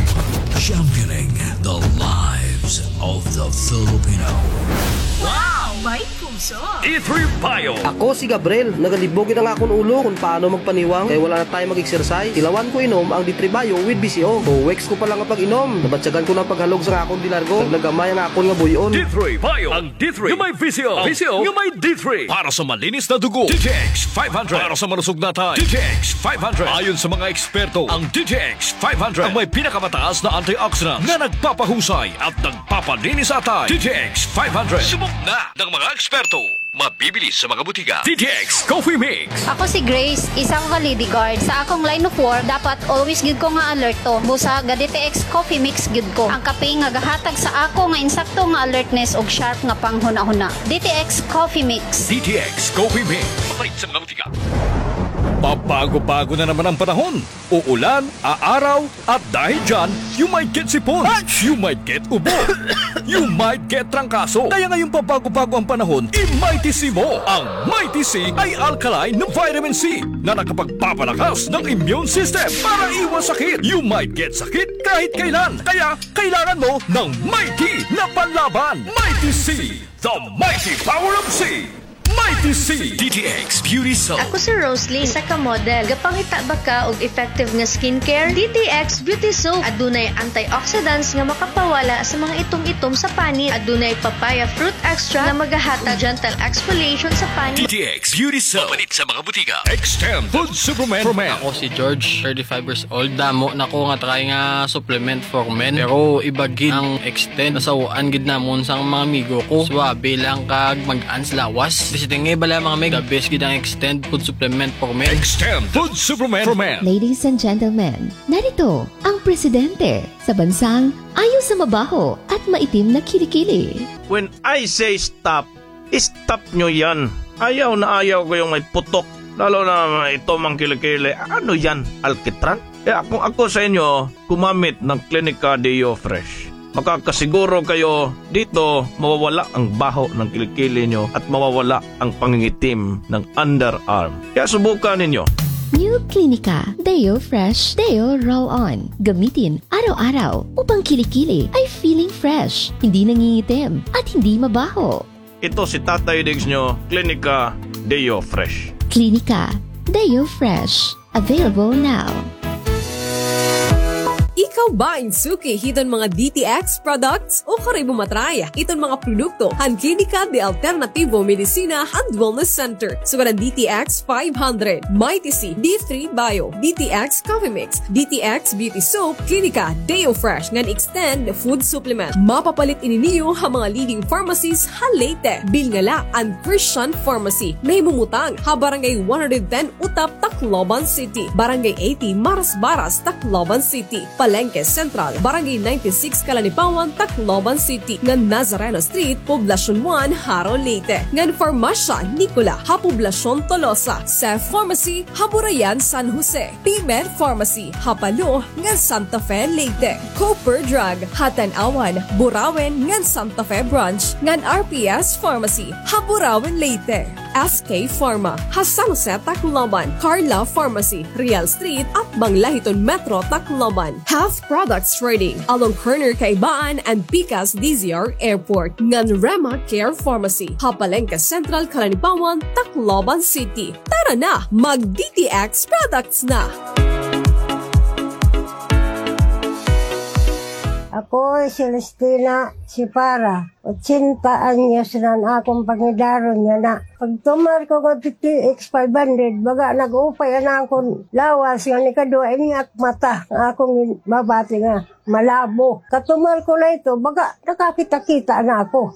championing the lives of the Filipino. Wow! May puso! D three Bio. Ako si Gabriel, nagalibog it ang akon ulo kon paano magpaniwang kay wala na tayo mag-exercise. Tilawan ko inom ang D three Bio with B C O. Two weeks ko pa lang nga pag-inom, nabatyagan ko na an paghalog sa akon dilargo. Nagnagamay ang akon nga buy-on. D three Bio. Ang D three nga may V C O. V C O nga may D three. Para sa malinis na dugo, D T X five hundred. Para sa malusog na atay, D T X five hundred. Ayon sa mga eksperto, ang D T X five hundred ang may pinakamataas na antioxidants na nagpapahusay at nagpapalinis sa atay. D T X five hundred. Subok na ng mga eksperto. Mabibili sa mga butika. D T X Coffee Mix. Ako si Grace, isa ka lady guard. Sa akong line of work, dapat always gyud ko nga alerto. Busa ga D T X Coffee Mix gyud ko. Ang kape nga gahatag sa ako nga insakto nga alertness ug sharp nga panghunahuna. D T X Coffee Mix. D T X Coffee Mix. Mapalit sa mga butika. Pabago-bago na naman ang panahon. Uulan, aaraw, at dahil dyan, you might get sipon, you might get ubo, you might get trangkaso. Kaya ngayong pabago-bago ang panahon, i-Mighty C mo. Ang Mighty C ay alkaline na vitamin C na nakapagpapalakas ng immune system para iwas sakit. You might get sakit kahit kailan. Kaya kailangan mo ng Mighty na panlaban. Mighty C, the mighty power of C. Mighty C. D T X Beauty Soap. Ako si Rosalie, isa ka model. Gapangita ba ka og effective nga skincare? D T X Beauty Soap. Adunay antioxidants nga makapawala sa mga itom-itom sa panit. Adunay papaya fruit extract nga magahatag gentle exfoliation sa panit. D T X Beauty Soap. Mapalit sa mga butika. Extend Food Supplement for Men. Ako si George, thirty-five years old. Damo na ko nga try nga supplement for men. Pero iba gid ang extend. Nasaw-an gid namon sa mga amigo ko. Suabe lang kag mag-ans lawas. Basta nga bala mga meg, the best gid ang extend food supplement for men. Extend Food Supplement for Men. Ladies and gentlemen, narito ang presidente sa bansang ayaw sa mabaho at maitim na kilikili. When I say stop, stop nyo yan. Ayaw na ayaw ko yung may putok. Lalo na ito mang kilikili. Ano yan? Alkitran? Kaya kung ako sa inyo, gumamit ng Clinica Deo Fresh. Makakasiguro kayo dito mawawala ang baho ng kilikili nyo at mawawala ang pangingitim ng underarm. Kaya subukan ninyo. New Clinica Deo Fresh Deo Roll On. Gamitin araw-araw upang kilikili ay feeling fresh, hindi nangingitim, at hindi mabaho. Ito si Tatay Diggs nyo, Clinica Deo Fresh. Clinica Deo Fresh. Available now. Ikaw ba in suki hiton mga D T X products? O kari mo matry iton mga produkto han Klinika de Alternativo Medicina and Wellness Center. Sugad an D T X five hundred, Mighty C, D three Bio, D T X Coffee Mix, D T X Beauty Soap, Klinika Deo Fresh ngan Extend Food Supplement. Mapapalit ini niyo ha mga leading pharmacies ha Leyte. Bilngala an Christian Pharmacy. Nahimumutang ha Barangay one hundred ten Utap, Tacloban City. Barangay eighty Marasbaras, Tacloban City. Palengke Central, Barangay ninety-six Calanipawan, Tacloban City, ngan Nazareno Street, Poblacion one, Jaro, Leyte, ngan Farmacia Nicola ha Poblacion Tolosa, Seth Pharmacy ha Burayan, San Jose, P-Med Pharmacy ha Palo ngan Santa Fe, Leyte, Cooper Drug ha Tanauan, Burauen ngan Santa Fe Branch, ngan R P S Pharmacy ha Burauen, Leyte. S K Pharma ha San Jose, Tacloban, Carla Pharmacy, Real Street, atbang la hiton Metro Tacloban, Health Products Trading, along corner Kaibaan and Pikas D Z R Airport, ngan Rema Care Pharmacy ha Palengke Central, Calanipawan, Tacloban City. Tara na, mag D T X products na! Ako, Celestina Sipara, ochenta anyos na an akon pangidaron niya na. Pagtumar ko nga D T X five hundred, baga nag-upay an akon lawas nga nikaduha, ini ak mata, nga akon mabati nga malabo. Katumar ko na ito, baga nakakita-kita na ako.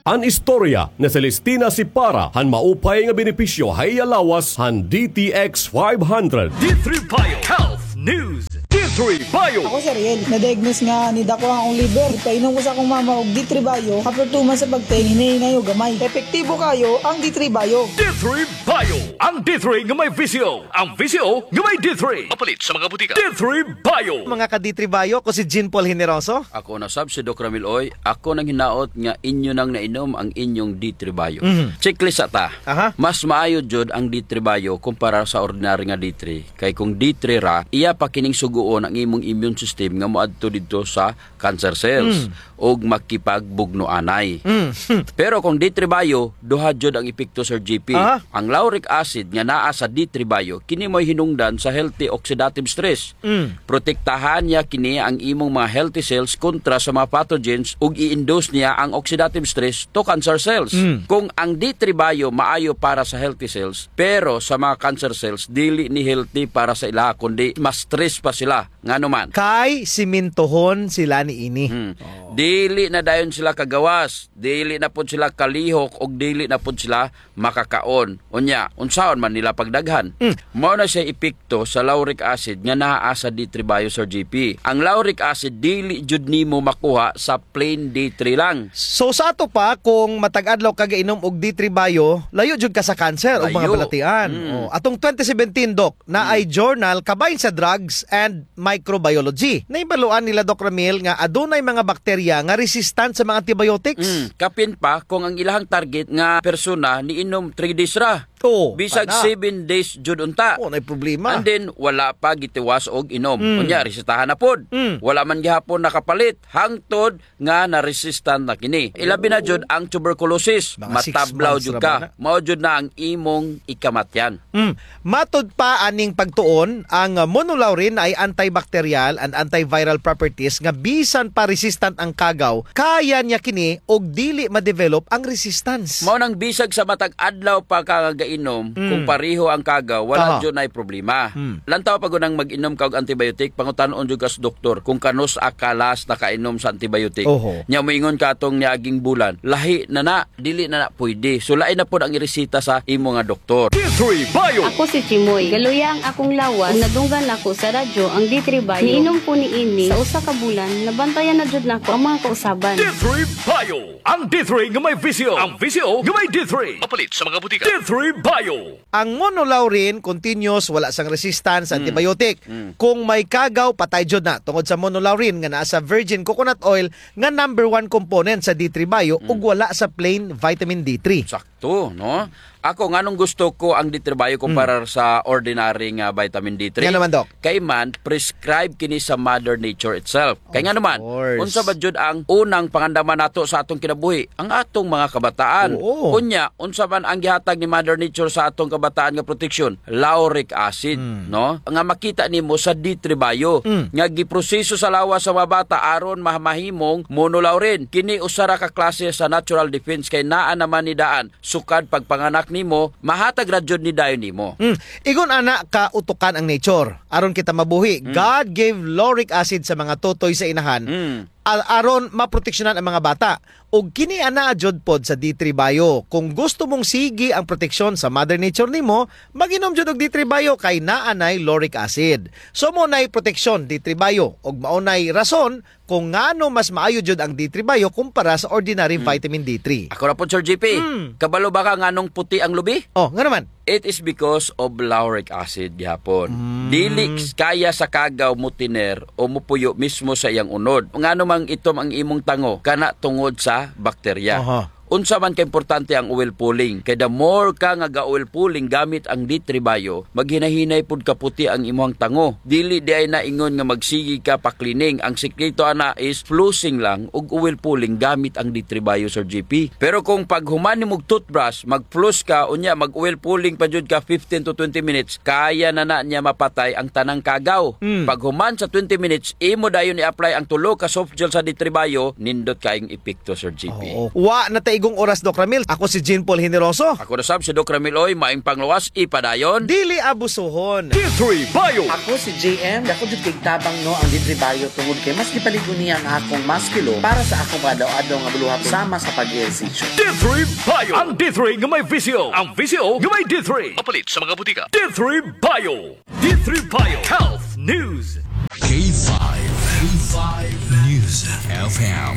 An istorya ni Celestina Sipara han maupay nga benepisyo ha iya lawas han D T X five hundred. D three Bio Health News. D three Bio. Ako si Ariel. Na-diagnose nga nidako an akon liver. Ipainom ko sa akon mama og D three Bio. After two months sa pagtake, hinay-hinay og gamay. Epektibo kayo ang D three Bio. D three Bio. Ang D three nga may V C O. Ang V C O nga may D three. Mapalit sa mga butika. D three Bio. Mga ka-D three Bio, ako si Jean Paul Generoso. Ako na sab si Doc Ramil Oy. Ako nanghinaot nga inyo nang nainom ang inyong D three Bio. Mhm. Checklist sa ta. Aha. Mas maayo jud ang D three Bio kumpara sa ordinary nga D three. Kay kung D three ra, iya pa kining sugoon ang imong immune system nga moadto didto sa cancer cells Mm. ug makipagbugno anay. Mm. Pero kung D three Bio, duha jud ang epekto, Sir G P. Aha. Ang lauric acid nga naa sa D three Bio, kini mo'y hinungdan sa healthy oxidative stress. Mm. Protektahan niya kini ang imong mga healthy cells kontra sa mga pathogens ug i-induce niya ang oxidative stress to cancer cells. Mm. Kung ang D three Bio maayo para sa healthy cells, pero sa mga cancer cells, dili ni healthy para sa ila, kundi mas stress pa sila. Ngano man? Kay simintohon sila niini. Hmm. Oh. Dili na dayon sila kagawas, dili na pod sila kalihok, ug dili na pod sila makakaon. Unya, unsaon man nila pagdaghan? Mm. Mao na siya epekto sa lauric acid nga naa sa D three Bio, Sir G P. Ang lauric acid dili jud nimo makuha sa plain D three lang. So, sa ato pa, kung matag adlaw ka gainom og D three Bio, layo jud ka sa cancer o mga Layo. balatian. Mm. Oh, atong twenty seventeen, Doc, naay Mm. journal kabahin sa Drugs and Microbiology. Nahibaluan nila, Doc Ramil, nga adunay mga bakterya nga resistant sa mga antibiotics. Mm, kapin pa kung ang ilahang target nga persona niinom three days ra. Oo, Bisag pana. seven days jud unta. Oo, nay problema. And then, wala pa gitiwas og inom. Mm. Unya, resetahan na pod. Mm. Wala man gihapon nakapalit. Hangtod nga na-resistant na kini. Ilabi na Oo. jud ang tuberculosis. Mga six Matablaw months jud ra ka. ba na? Mao jud na ang imong ikamatyan. Mm. Matod pa aning pagtuon, ang, ah, monolaurin ay antibacterial and antiviral properties nga bisan pa resistant ang kagaw, kaya niya kini og dili ma-develop ang resistance. Mao nang bisag sa matag adlaw pa ka nga gainom, Mm. kung pareho ang kagaw, wala Aha. jud nay problema. Mm. Lantaw pa gud ang mag-inom ka og antibiotic, pangutan-on jud ka sa doktor kung kanus-a ka last nakainom sa antibiotic. Oho. Nya moingon ka atong niaging bulan, lahi na na. Dili na na pwede. So, lain na pod ang iresita sa imo nga doktor. D three Bio. Ako si Chimoy. Galuya ang akong lawas. Ug nadunggan ako sa radyo ang D three Bio. Niinom ko niini sa usa ka bulan, nabantayan na jud nako ang mga kausaban. D three Bio. Ang D three nga may V C O. Ang V C O nga may D three. Mapalit sa mga butika. D three Bio. Ang monolaurin, continuous, wala sang resistance sa Mm. antibiotic. Mm. Kung may kagaw, patay jud na. Tungod sa monolaurin nga naa sa virgin coconut oil nga number one component sa D three Bio Mm. ug wala sa plain vitamin D three. Sakto, no? Ako, nganong gusto ko ang D three Bio kumpara Mm. sa ordinary nga vitamin D three? Nga naman, Doc? Kay man, prescribe kini sa Mother Nature itself. Kay Of nga naman, course. unsa ba jud ang unang pangandaman nato sa atong kinabuhi? Ang atong mga kabataan. Oo. Unya, unsa man ang gihatag ni Mother Nature sa atong kabataan nga proteksyon? Lauric acid, Mm. no? Nga makita nimo sa D three Bio, Mm. nga giproseso sa lawas sa mga bata aron ma-, mahimong monolaurin. Kini usa ra ka klase sa natural defense kay naa naman ni daan sukad pagpanganak nimo, mahatag ra jud ni dayon nimo. Mm. Igon ana ka utukan ang nature. Aron kita mabuhi, Mm. God gave lauric acid sa mga totoy sa inahan Mm. a-, aron maproteksyonan ang mga bata. Ug kini anaa jud pod sa D three Bio. Kung gusto mong sige ang proteksyon sa Mother Nature nimo, mag-inom jud og D three Bio kay naa nay lauric acid. So, mao nay proteksyon, D three Bio, ug mao nay rason kung ngano mas maayo jud ang D three Bio kumpara sa ordinary Hmm. vitamin D three. Ako na pod, Sir G P. Hmm. Kabalo ba ka nganong puti ang lubi? Oh, ngano man? It is because of lauric acid gihapon. Mm. Dili kaya sa kagaw motiner o mopuyo mismo sa iyang unod. Ngano mang itom ang imong tango? Kana tungod sa bakterya. Aha. Unsa man ka importante ang oil pulling? Kay the more ka nga ga-oil pulling gamit ang D three Bio, maghinahinay pud kaputi ang imuhang tango. Dili diay na ingon nga magsigi ka pa-cleaning. Ang sikreto ana is flossing lang ug oil pulling gamit ang D three Bio, Sir G P. Pero kung paghuman nimog toothbrush, mag-floss ka, unya mag-oil pulling pa jud ka fifteen to twenty minutes, kaya na na niya mapatay ang tanang kagaw. Mm. Paghuman sa twenty minutes, imo dayon i-apply ang tulo ka soft gel sa D three Bio, nindot kaayong epekto, Sir G P. Oo. Wa na ta igong oras, Doc Ramil. Ako si Jean Paul Generoso. Ako na sab si Doc Ramil Oy, maayong panglawas, ipadayon. Dili abusuhon. D three Bio. Ako si J M. Dako jud kay tabang, no, ang D three Bio tungod kay mas gipalig-on niya ang akong musculo para sa akong pag-adlaw-adlaw nga buluhaton sama sa pag-ehersisyo. D three Bio. Ang D three nga may V C O. Ang V C O nga may D three. Mapalit sa mga butika. D three Bio. D three Bio Health News. K five, K five News F M,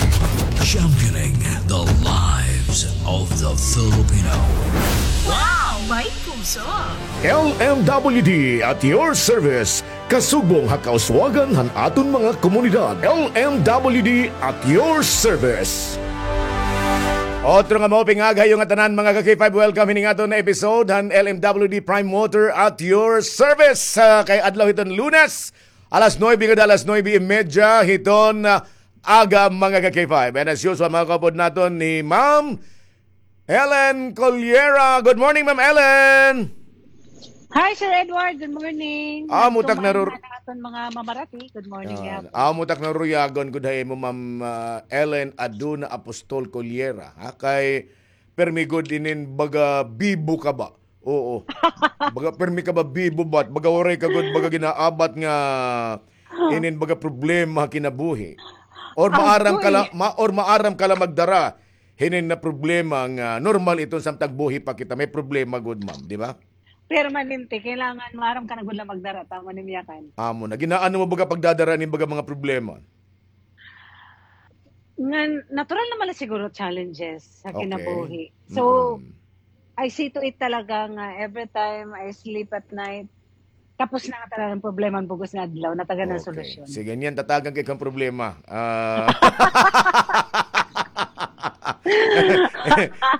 championing the lives of the Filipino. Wow! May puso! L M W D at your service. Kasugbong ha kauswagan han aton mga komunidad. L M W D at your service. Otro nga maupay nga aga ha iyo ngatanan, mga ka-K five. Welcome hining aton episode han L M W D Prime Water at your service. Ah, kay adlaw hiton Lunes, alas nuebe ngada alas nuebe y media hiton, ah, aga, mga ka-K five. And as usual, mga kaupod naton ni Ma'am Ellen Coliera. Good morning, Ma'am Ellen. Hi, Sir Edward. Good morning. Amo tak narur- Kumain na aton mga mamarati. Good morning, ah, gihapon. Amo tak naruyagon gud ha imo, Ma'am, ah, Ellen Aduna Apostol Coliera, ha? Kay permi gud inin baga bibo ka ba? Oo. Baga permi ka ba bibo ba? Baga waray ka gud baga ginaabat nga inin baga problema kinabuhi. Or maaram ka la, ma-, or maaram ka la magdara hinin na problema nga normal iton samtang buhi pa kita. May problema gud, ma'am, di ba? Permanente, kailangan maaram ka na gud la magdara, tama ni Miyakan. Amo na. Ginaano mo baga pagdadara nin baga mga problema? Nga, natural naman la siguro challenges sa kinabuhi. Okay. So, mm-mm. I see to it talaga nga every time I sleep at night, tapos na nga talaga ang problema, bug-os nga adlaw, natagan ng solusyon. Okay. Sige, niyan, tatagan kay kang problema. Ah.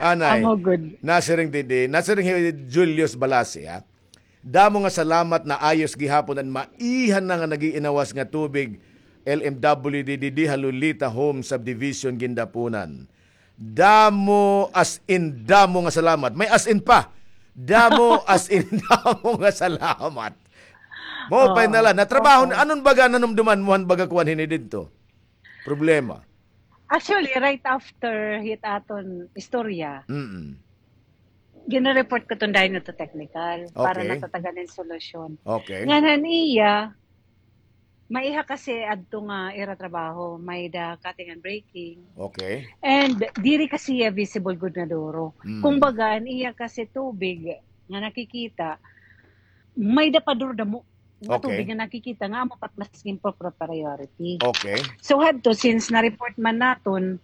Anay. Amo gud. Nasiring didi, nasiring hi Julius Balasi, ha? Damo nga salamat, naayos gihapon an maiha na nga nag-iinawas nga tubig, L M W D didi ha Lolita Home Subdivision, Guindapunan. Damo, as in, damo nga salamat. May as in pa. Damo, as in, damo nga salamat. Maupay na la. Natrabaho, anon baga nanumduman mo han baga kuan hini didto? Problema. Actually, right after hit aton istorya, mm-mm, gina-report ko iton dayon ngadto technical para natatagan hin solusyon. Okay. Ngan han iya, maiha kasi adto nga ira trabaho, may-ada cutting and breaking. Okay. And diri kasi iya visible gud nga duro. Mm. Kumbaga, an iya kasi tubig nga nakikita, may-ada pa duro damo nga tubig nga nakikita nga amo pa it mas ginpro-, priority. Okay. So, hadto, since na-report man naton,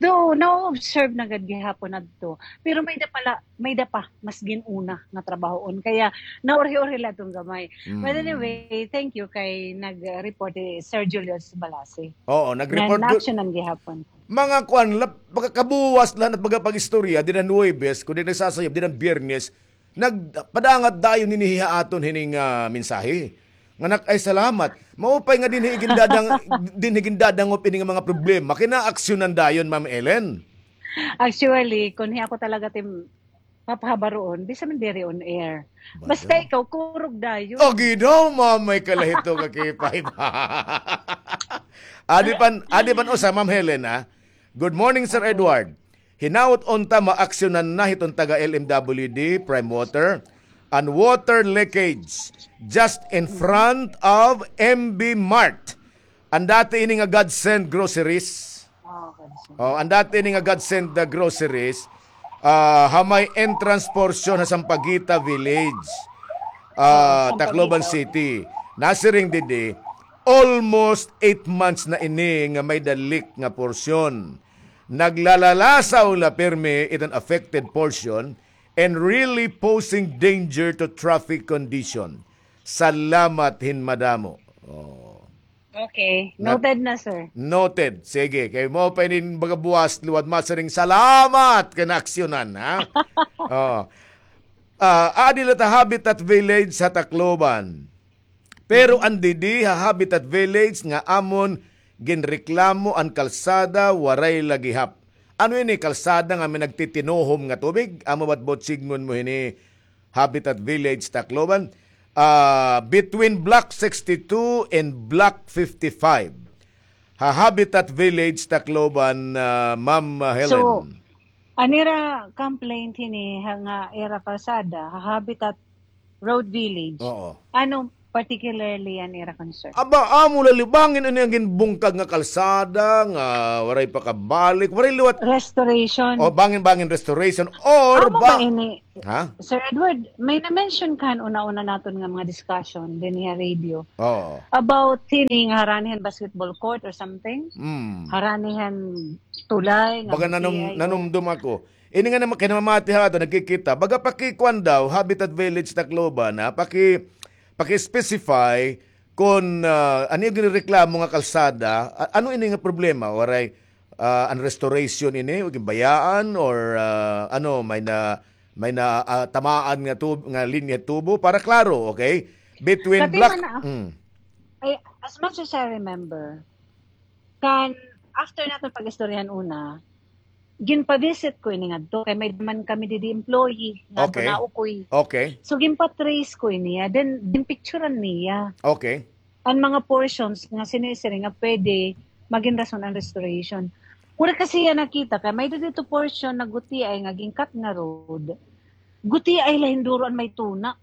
though, na-observe na gad gihapon adto, pero may-ada pa la, may-ada pa mas gin-una nga trabahoon. Kaya, naurhi-urhi la iton gamay. But anyway, thank you kay nag-report hi Sir Julius Balasi. Oo, nag-report. Nga na-actionan gihapon. Mga kuan la, pagkakabuwas la, at pagkapag-istorya, diri han Huwebes, kundi nagsasayop, diri han Biyernes, nagpadangat dayon hini ha aton hining, ah, mensahe. Nga nak-, ay, salamat. Maupay nga dinhi gindadang-, dinhi gindadangop ini nga mga problema. Kay naaksyonan dayon, Ma'am Ellen. Actually, kon hi ako talaga tim papahabaroon, bisan man diri on air. Basta ikaw, kurog dayon. O, ginaw, mamay ka la hito ka K five. Adi pan, adi pan usa, Ma'am Helen, ha? Good morning, Sir Edward. Hinaot unta maaksyonan na hiton taga L M W D, Prime Water, an water leakage just in front of M B Mart. An dati ini nga Godsend Groceries. Oh, Godsend. Oh, an dati ini nga Godsend, uh, Groceries, ah, ha may entrance portion ha Sampaguita Village, ah, Tacloban City. Nasiring didi, almost eight months na ini nga may-ada leak nga portion. Naglalalasaw la pirmi iton affected portion and really posing danger to traffic condition. Salamat hin madamo. Oh. Okay. Noted na, sir. Noted. Sige. Kay mao pa ini baga buwas liwat masiring salamat kay naaksyonan, ha? Oh. Ah, adi la ta Habitat Village ha Tacloban. Pero an didi ha Habitat Village nga amon ginreklamo an kalsada waray la gihap. Ano ini kalsada nga may nagtitinuhom nga tubig? Amo ba't butsingon mo hini Habitat Village Tacloban? Ah, between Block sixty-two and Block fifty-five. Ha Habitat Village Tacloban, ah, Ma'am, ah, Helen. So, an ira complaint hini ha, nga ira kalsada, ha Habitat Road Village. Oo. Ano particularly an ira concern? Aba, amo la liwat bangin ini an ginbungkag nga kalsada, nga waray pa kabalik, waray liwat. Restoration. O, bangin-bangin restoration, or amo ba ba ini? Ha? Sir Edward, may na-mention ka han una-una naton nga mga discussion dinhi ha radio. Oo. About hini nga harani han basketball court or something? Mm. Harani han tulay nga baga nanum-, nanumdom ako. Ini nga naman, kay namamati ha ato, nagkikita. Baga pakikuan daw, Habitat Village Tacloban, ha? Paki-, paki-specify kon, ah, ano it ginreklamo nga kalsada. A-, ano ini nga problema? Waray, ah, an restoration ini, o ginbayaan, or, ah, ano, may na, may na, ah, tamaan nga tub-, nga linya tubo? Para klaro, okay? Between Pati block, man na, mm. Ay, as much as I remember, kan after naton pag-istoryahan una, ginpa-visit ko ini ngadto, kay may man kami didi employee, nga Okay. Naukoy. Okay. So, ginpa-trace ko ini, ah, then, ginpicturan niya. Okay. An mga portions nga sinisiring nga pwede magin rason an restoration. Wala kasi iya nakita, kay may didto portion na gutiay nga gin-cut nga road. Gutiay la hin duro an may tuna.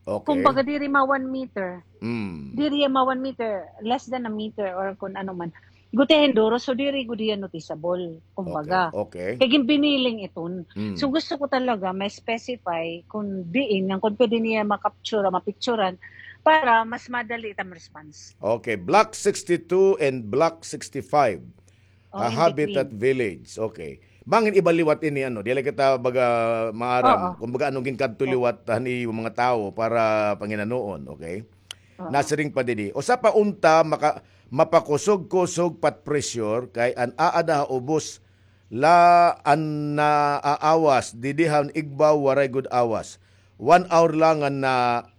Okay. Kumbaga, diri ma one meter. Mm. Diri ma one meter, less than a meter or kun ano man. Gutiay hin duro, so diri gud hiya noticeable, kumbaga. Okay, okay. Kay ginbiniling iton. Mm. So gusto ko talaga ma-specify kun diin, ngan kun pwede niya ma-capture, ma-picturan, para mas madali it am response. Okay, Block sixty-two and Block sixty-five. Oh, ah, in Habitat between. Village. Okay. Bangin iba liwat ini, ano, dili kita baga maaram Oo. Kung baga anong ginkadto Oo. Liwat han iyo mga tawo para panginanoon, okay? Oo. Nasiring pa didi. Usa pa unta, maka-, mapakusog-kusog pat pressure kay an aada ha ubos la an naaawas, didi han igbaw waray gud awas. One hour la nga na,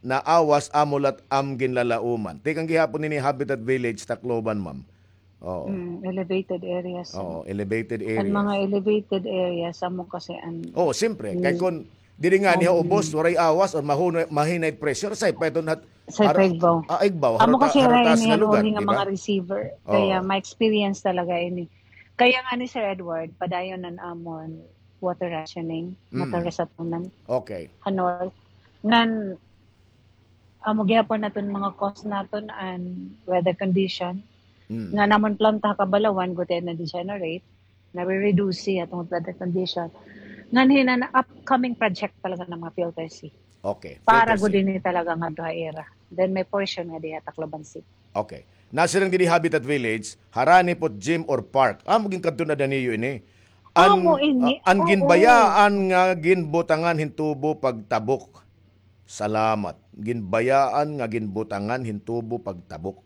naawas amo lat am ginlalauman. Tikang gihapon ini Habitat Village, Tacloban, ma'am. Oo. Mm, elevated areas. Oo, elevated areas. An mga elevated areas, amo kasi an Oo, siyempre. Kay kun diri ngani ha ubos, waray awas, or mahunay, mahinay pressure, say pa iton hat-, Say pa igbaw. Ah, igbaw. Amo kasi haro ta-, haro taas nga lugar, di ba? Mga receiver. Oo. Kaya ma-experience talaga ini. Kaya nga ni Sir Edward, padayon an amon water rationing, Mm. Water rationing. Okay. Ha north. Ngan, amo gihapon naton mga cause naton an weather condition. Mm. Nga namon planta ha kabalawan, gutiay na-degenerate, nare-reduce hiya tungod weather condition. Ngan hin an upcoming project talaga nga mga filter C. Okay, para filter C. Gud ini talaga ngadto ha ira. Then may portion nga diha Tacloban City. Okay. Nasiring didi Habitat Village, harani pot gym or park. Amo ginkadto na da niyo ini. An, amo ini. Ah, an ginbayaan nga ginbutangan hin tubo pagtabok. Salamat. Ginbayaan nga ginbutangan hin tubo pagtabok.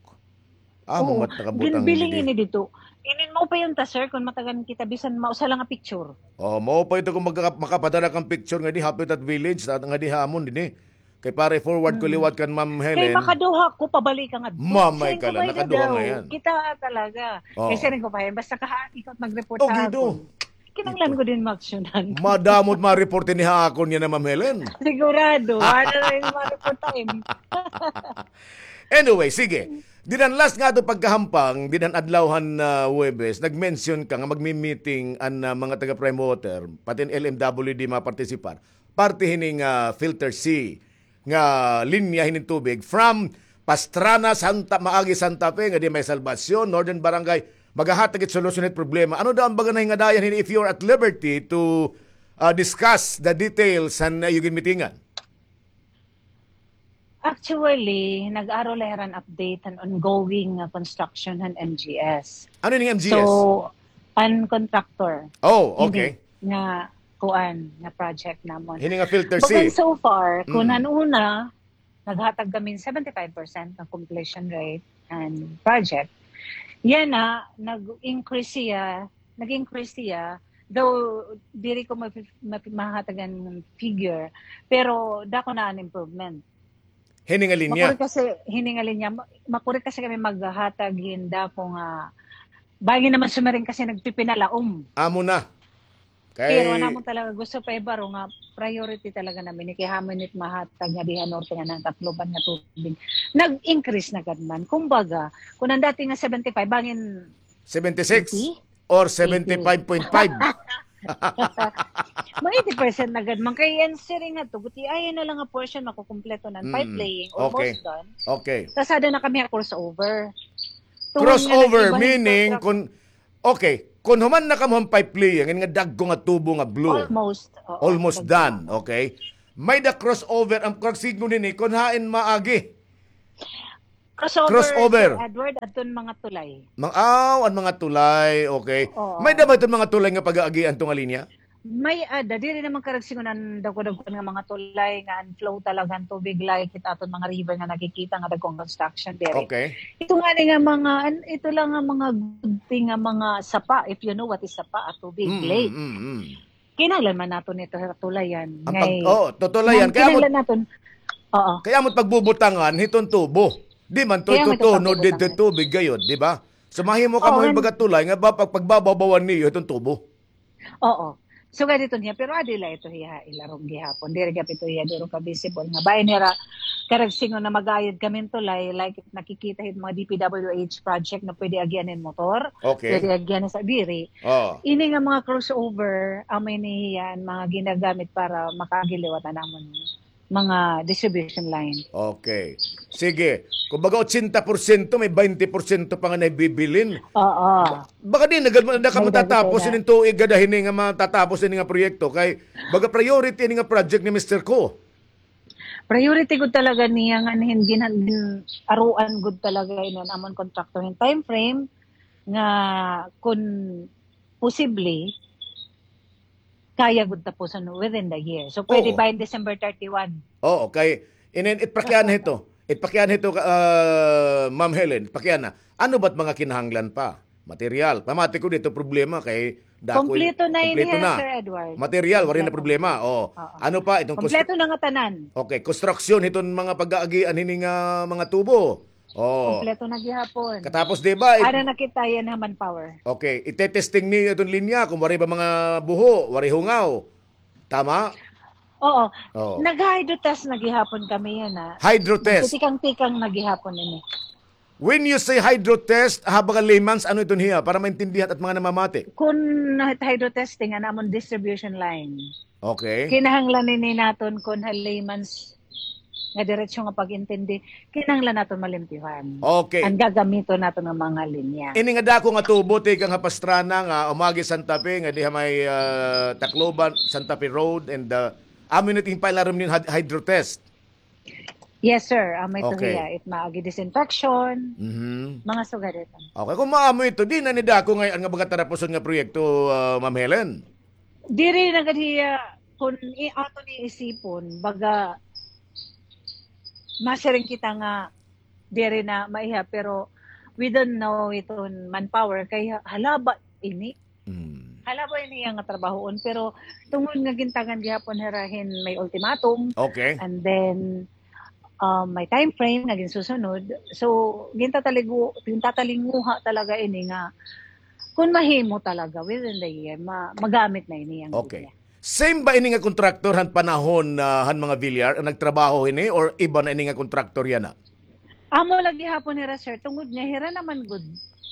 Amo mat nakabutang didi. Ginbiling ini didto. Inin mao pa yun ta, sir, kun matagan kita bisan mausa lang nga picture. Oh, mao pa ito kun magka-, makapadala kang picture ngadi Habitat Village, ta-, ngadi ha amon didi. Kay para i-forward ko liwat kan Ma'am Helen. Kay makaduha ko, pabalik ka nga. Mamay ka lang, nakaduha nga yan. Kita talaga. Oo. Kay siring ko pa yan, basta kaha, ikaw mag-report sa akon. Kinahanglan ko din maaksyonan. Madamo it ma-report ini ha akon yana, Ma'am Helen. Sigurado. Ano na yung ma-report time? Anyway, sige. Didto han last nga ato pagkahampang, didto han adlaw han, ah, Huwebes, nag-mention ka nga magmi-meeting an, ah, mga taga Prime Water, pati an L M W D mapartisipar. Parte hini nga, ah, filter C nga linya hini tubig from Pastrana, Santa, maagi Santa Fe, ngadi may Salvacion, Northern Barangay, magahatag it solusyon hit problema. Ano daw an baga nahingadayan hini, if you are at liberty to, ah, discuss the details han iyo ginmitingan? Actually, nag-aro la hira hin update han ongoing nga construction han M G S. Ano ini M G S? So, an contractor. Oh, okay. Nga kuan, nga project namon. Hini nga filter C. But so far, kun han una, naghatag kami hin seventy-five percent nga completion rate. an project. Yana, nag-increase siya, nag-increase siya, though diri ko mapi-, mapi-, mahatag an figure, pero dako na an improvement. Hini nga linya. Makuri kasi, hini nga linya, ma-, makuri kasi kami maghatag hin dako nga, bangin naman sumiring kasi nagpipinalaom. Amo na. Pero an amon talaga gusto pa ibaro nga priority talaga namin, kay hamin it mahatag nga dinhi ha norte nga nangangailangan han tubig. Nag-increase na gad man. Kumbaga, kun an dati nga seventy-five, bangin seventy-six? Eighty? Or seventy-five point five? Mga eighty percent na gad man. Kay an siring ngadto, gutiay na la nga portion, makukumpleto na an pipe laying, almost done. Okay. Tas ada na kami ha crossover. Crossover, meaning, kun, okay, kun human na kamo han pipe laying, nga dagko nga tubo nga blue. Almost, oo, almost done, okay. May-ada crossover, an pagsiring hini, kun hain maagi. Crossover, crossover. Sir Edward, adton mga tulay. Mang-, aw, an mga tulay, okay. Oo. May-ada ba iton mga tulay nga pag-aagian iton nga linya? May-ada, diri naman karuyag siring nga dagko-dagko nga mga tulay nga an flow talaga han tubig like it aton mga river nga nakikita nga dagko an construction diri. Okay. Ito ngani nga mga, an-, ito la nga mga good thing nga mga sapa, if you know what is sapa, a tubig, lake. Kinahanglan man naton ito tulayan. An pag-, oo, tutulayan. Kay amo it pagbubutangan hiton tubo. Di man ito itutunod didto tubig gayod, di ba? So mahimo kamo hin baga tulay nga ba pag-, pagbababawan niyo hiton tubo. Oo. Sugad ito niya, pero adi la ito hiya ha ilarom gihapon. Diri gihap ito hiya duro ka-visible nga bahin nira karuyag siring nga mag-aayod kami hin tulay, like nakikita hit mga D P W H project nga pwede agian hin motor, pwede agian hin sa diri. Ini nga mga crossover, amo ini hiya an mga ginagamit para makaagi liwat an amon mga distribution line. Okay. Sige. Kumbaga, otsenta porsyento, may baynte porsyento pa nga nahibibilin. Oo. Baka di na gad, na ka matatapos ini nga tuig gad hini nga matatapos ini nga proyekto. Kay, baga priority ini nga project ni Mister Ko. Priority gud talaga niya nga hin-, gin-, gin-aruan gud talaga ini an amon contractor hin time frame nga kun posible, kaya gud tapuson within the year. So, pwede by December thirty-one. Oo, kay inin, it pakiana hito. It pakiana hito, ah, Ma'am Helen, pakiana. Ano ba't mga kinahanglan pa? Material. Pamati ko dito problema kay dako. Kompleto na ini, Sir Edward. Material, waray na problema. Oo. Ano pa itong konstru-, kompleto na nga tanan. Okay, construction hiton mga pag-aagian hini nga mga tubo. Oo. Kompleto na gihapon. Katapos, di ba, it-, ada na kita yana ha manpower. Okay, itetesting niyo iton linya kung waray ba mga buho, waray hungaw. Tama? Oo. Oo. Nag-hydro test na gihapon kami yana. Hydro test. Nagtitikang-tikang na gihapon ini. When you say hydro test, ha baga layman's, ano iton hiya? Para maintindihan it mga namamati. Kun hydro testing, an amon distribution line. Okay. Kinahanglan ini naton kun ha layman's nga diretso nga pag-intindi, kinahanglan naton malimpyuhan. Okay. An gagamiton naton nga mga linya. Ini nga dako nga tubo tikang ha Pastrana nga umagi Santa Fe, nga diha may, ah, Tacloban, Santa Fe Road, and, ah, amo ini it ginpailarom niyo hin hyd-, hydro test. Yes, sir. Amo ito hiya. It maagi disinfection, mga sugad ito. Okay. Kun maamo ito, di na ini dako ngay-an nga baga tarapuson nga proyekto, ah, Ma'am Helen? Diri na gad hiya, kun i-, aton iisipon, baga, masiring kita nga diri na maiha, pero we don't know iton manpower, kay ha-, halaba ini. Halaba ini iya nga trabahoon, pero tungod nga gintagan gihapon hira hin may ultimatum, and then, um, may time frame nga ginsusunod. So, gintatalingu-, gintatalinguha talaga ini nga kun mahimo talaga within the year, ma-, magamit na ini an linya. Same ba ini nga kontraktor han panahon, ah, han mga Villar an nagtrabaho hini or iba na ini nga kontraktor yana? Amo la gihapon hira, sir, tungod nga hira naman gud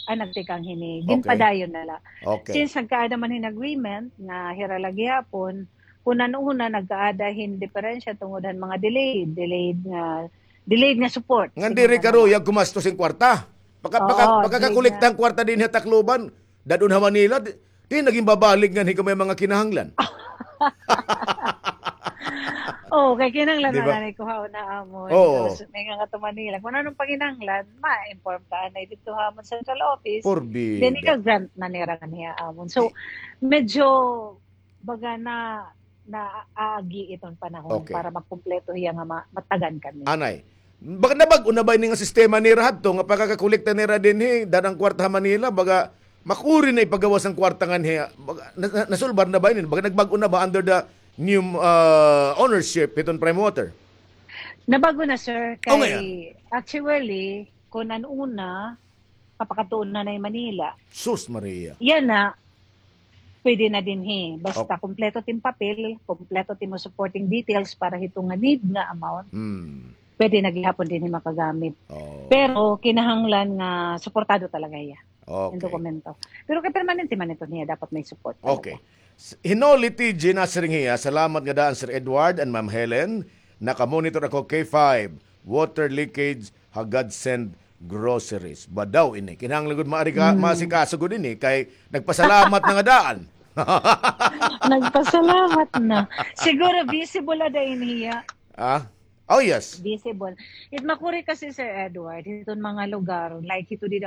an nagtikang hini. Ginpadayon na la. Okay. Since nagkaada man hin agreement nga hira la gihapon, kun an una nagkaada hin diperensya tungod han mga delayed, delayed nga, delayed nga support. Ngan diri karuyag gumastos hin kwarta. Pagka-, pagka-, pagkakakolekta hin kwarta dinhi ha Tacloban, dad-on ha Manila, di, di na ginbabalik nganhi kun may mga kinahanglan. Oo, kay kinahanglan na nanay kuhaon ha amon. Oo. Tapos, may nga to Manila. Kun ano an panginahanglan, ma-inform ka anay didto ha amon central office. Then, ika-grant na nira nganhi ha amon. So, medyo baga na, naagi iton panahon para magkumpleto hiya nga ma-, matagan kami. Anay, Baga nabag-o na ba ini nga sistema nira hadto nga pagkakakolekta nira dinhi, dad-an kwarta ha Manila, baga makuri na ipagawas an kwarta nganhi, baga, na, na, nasulbar na ba ini? Baga nagbag-o na ba under the new, ah, ownership hiton Prime Water? Nabag-o na, sir. Oh, kay, ngayon. Actually, kun an una, papakadtuon na na Manila. Sus Maria. Yana, pwede na dinhi. Basta kompleto tim papel, kompleto tim supporting details para hito nga need nga amount. Hmm. Pwede na gihapon dinhi makagamit. Oh. Pero kinahanglan nga suportado talaga hiya. Okay. An dokumento. Pero kay permanente man ito niya, dapat may support talaga. Okay. S-, Hinoli T J nasiring hiya, salamat nga daan Sir Edward and Ma'am Helen. Naka-monitor ako K five, water leakage ha Godsend Groceries. Ba daw ini? Kinahanglan gud maari ka, hmm, maasikaso gud ini kay nagpasalamat na nga daan. Nagpasalamat na. Siguro visible ada ini hiya. Ah? Oh, yes. Visible. It makuri kasi, Sir Edward, hiton mga lugar, like hito dida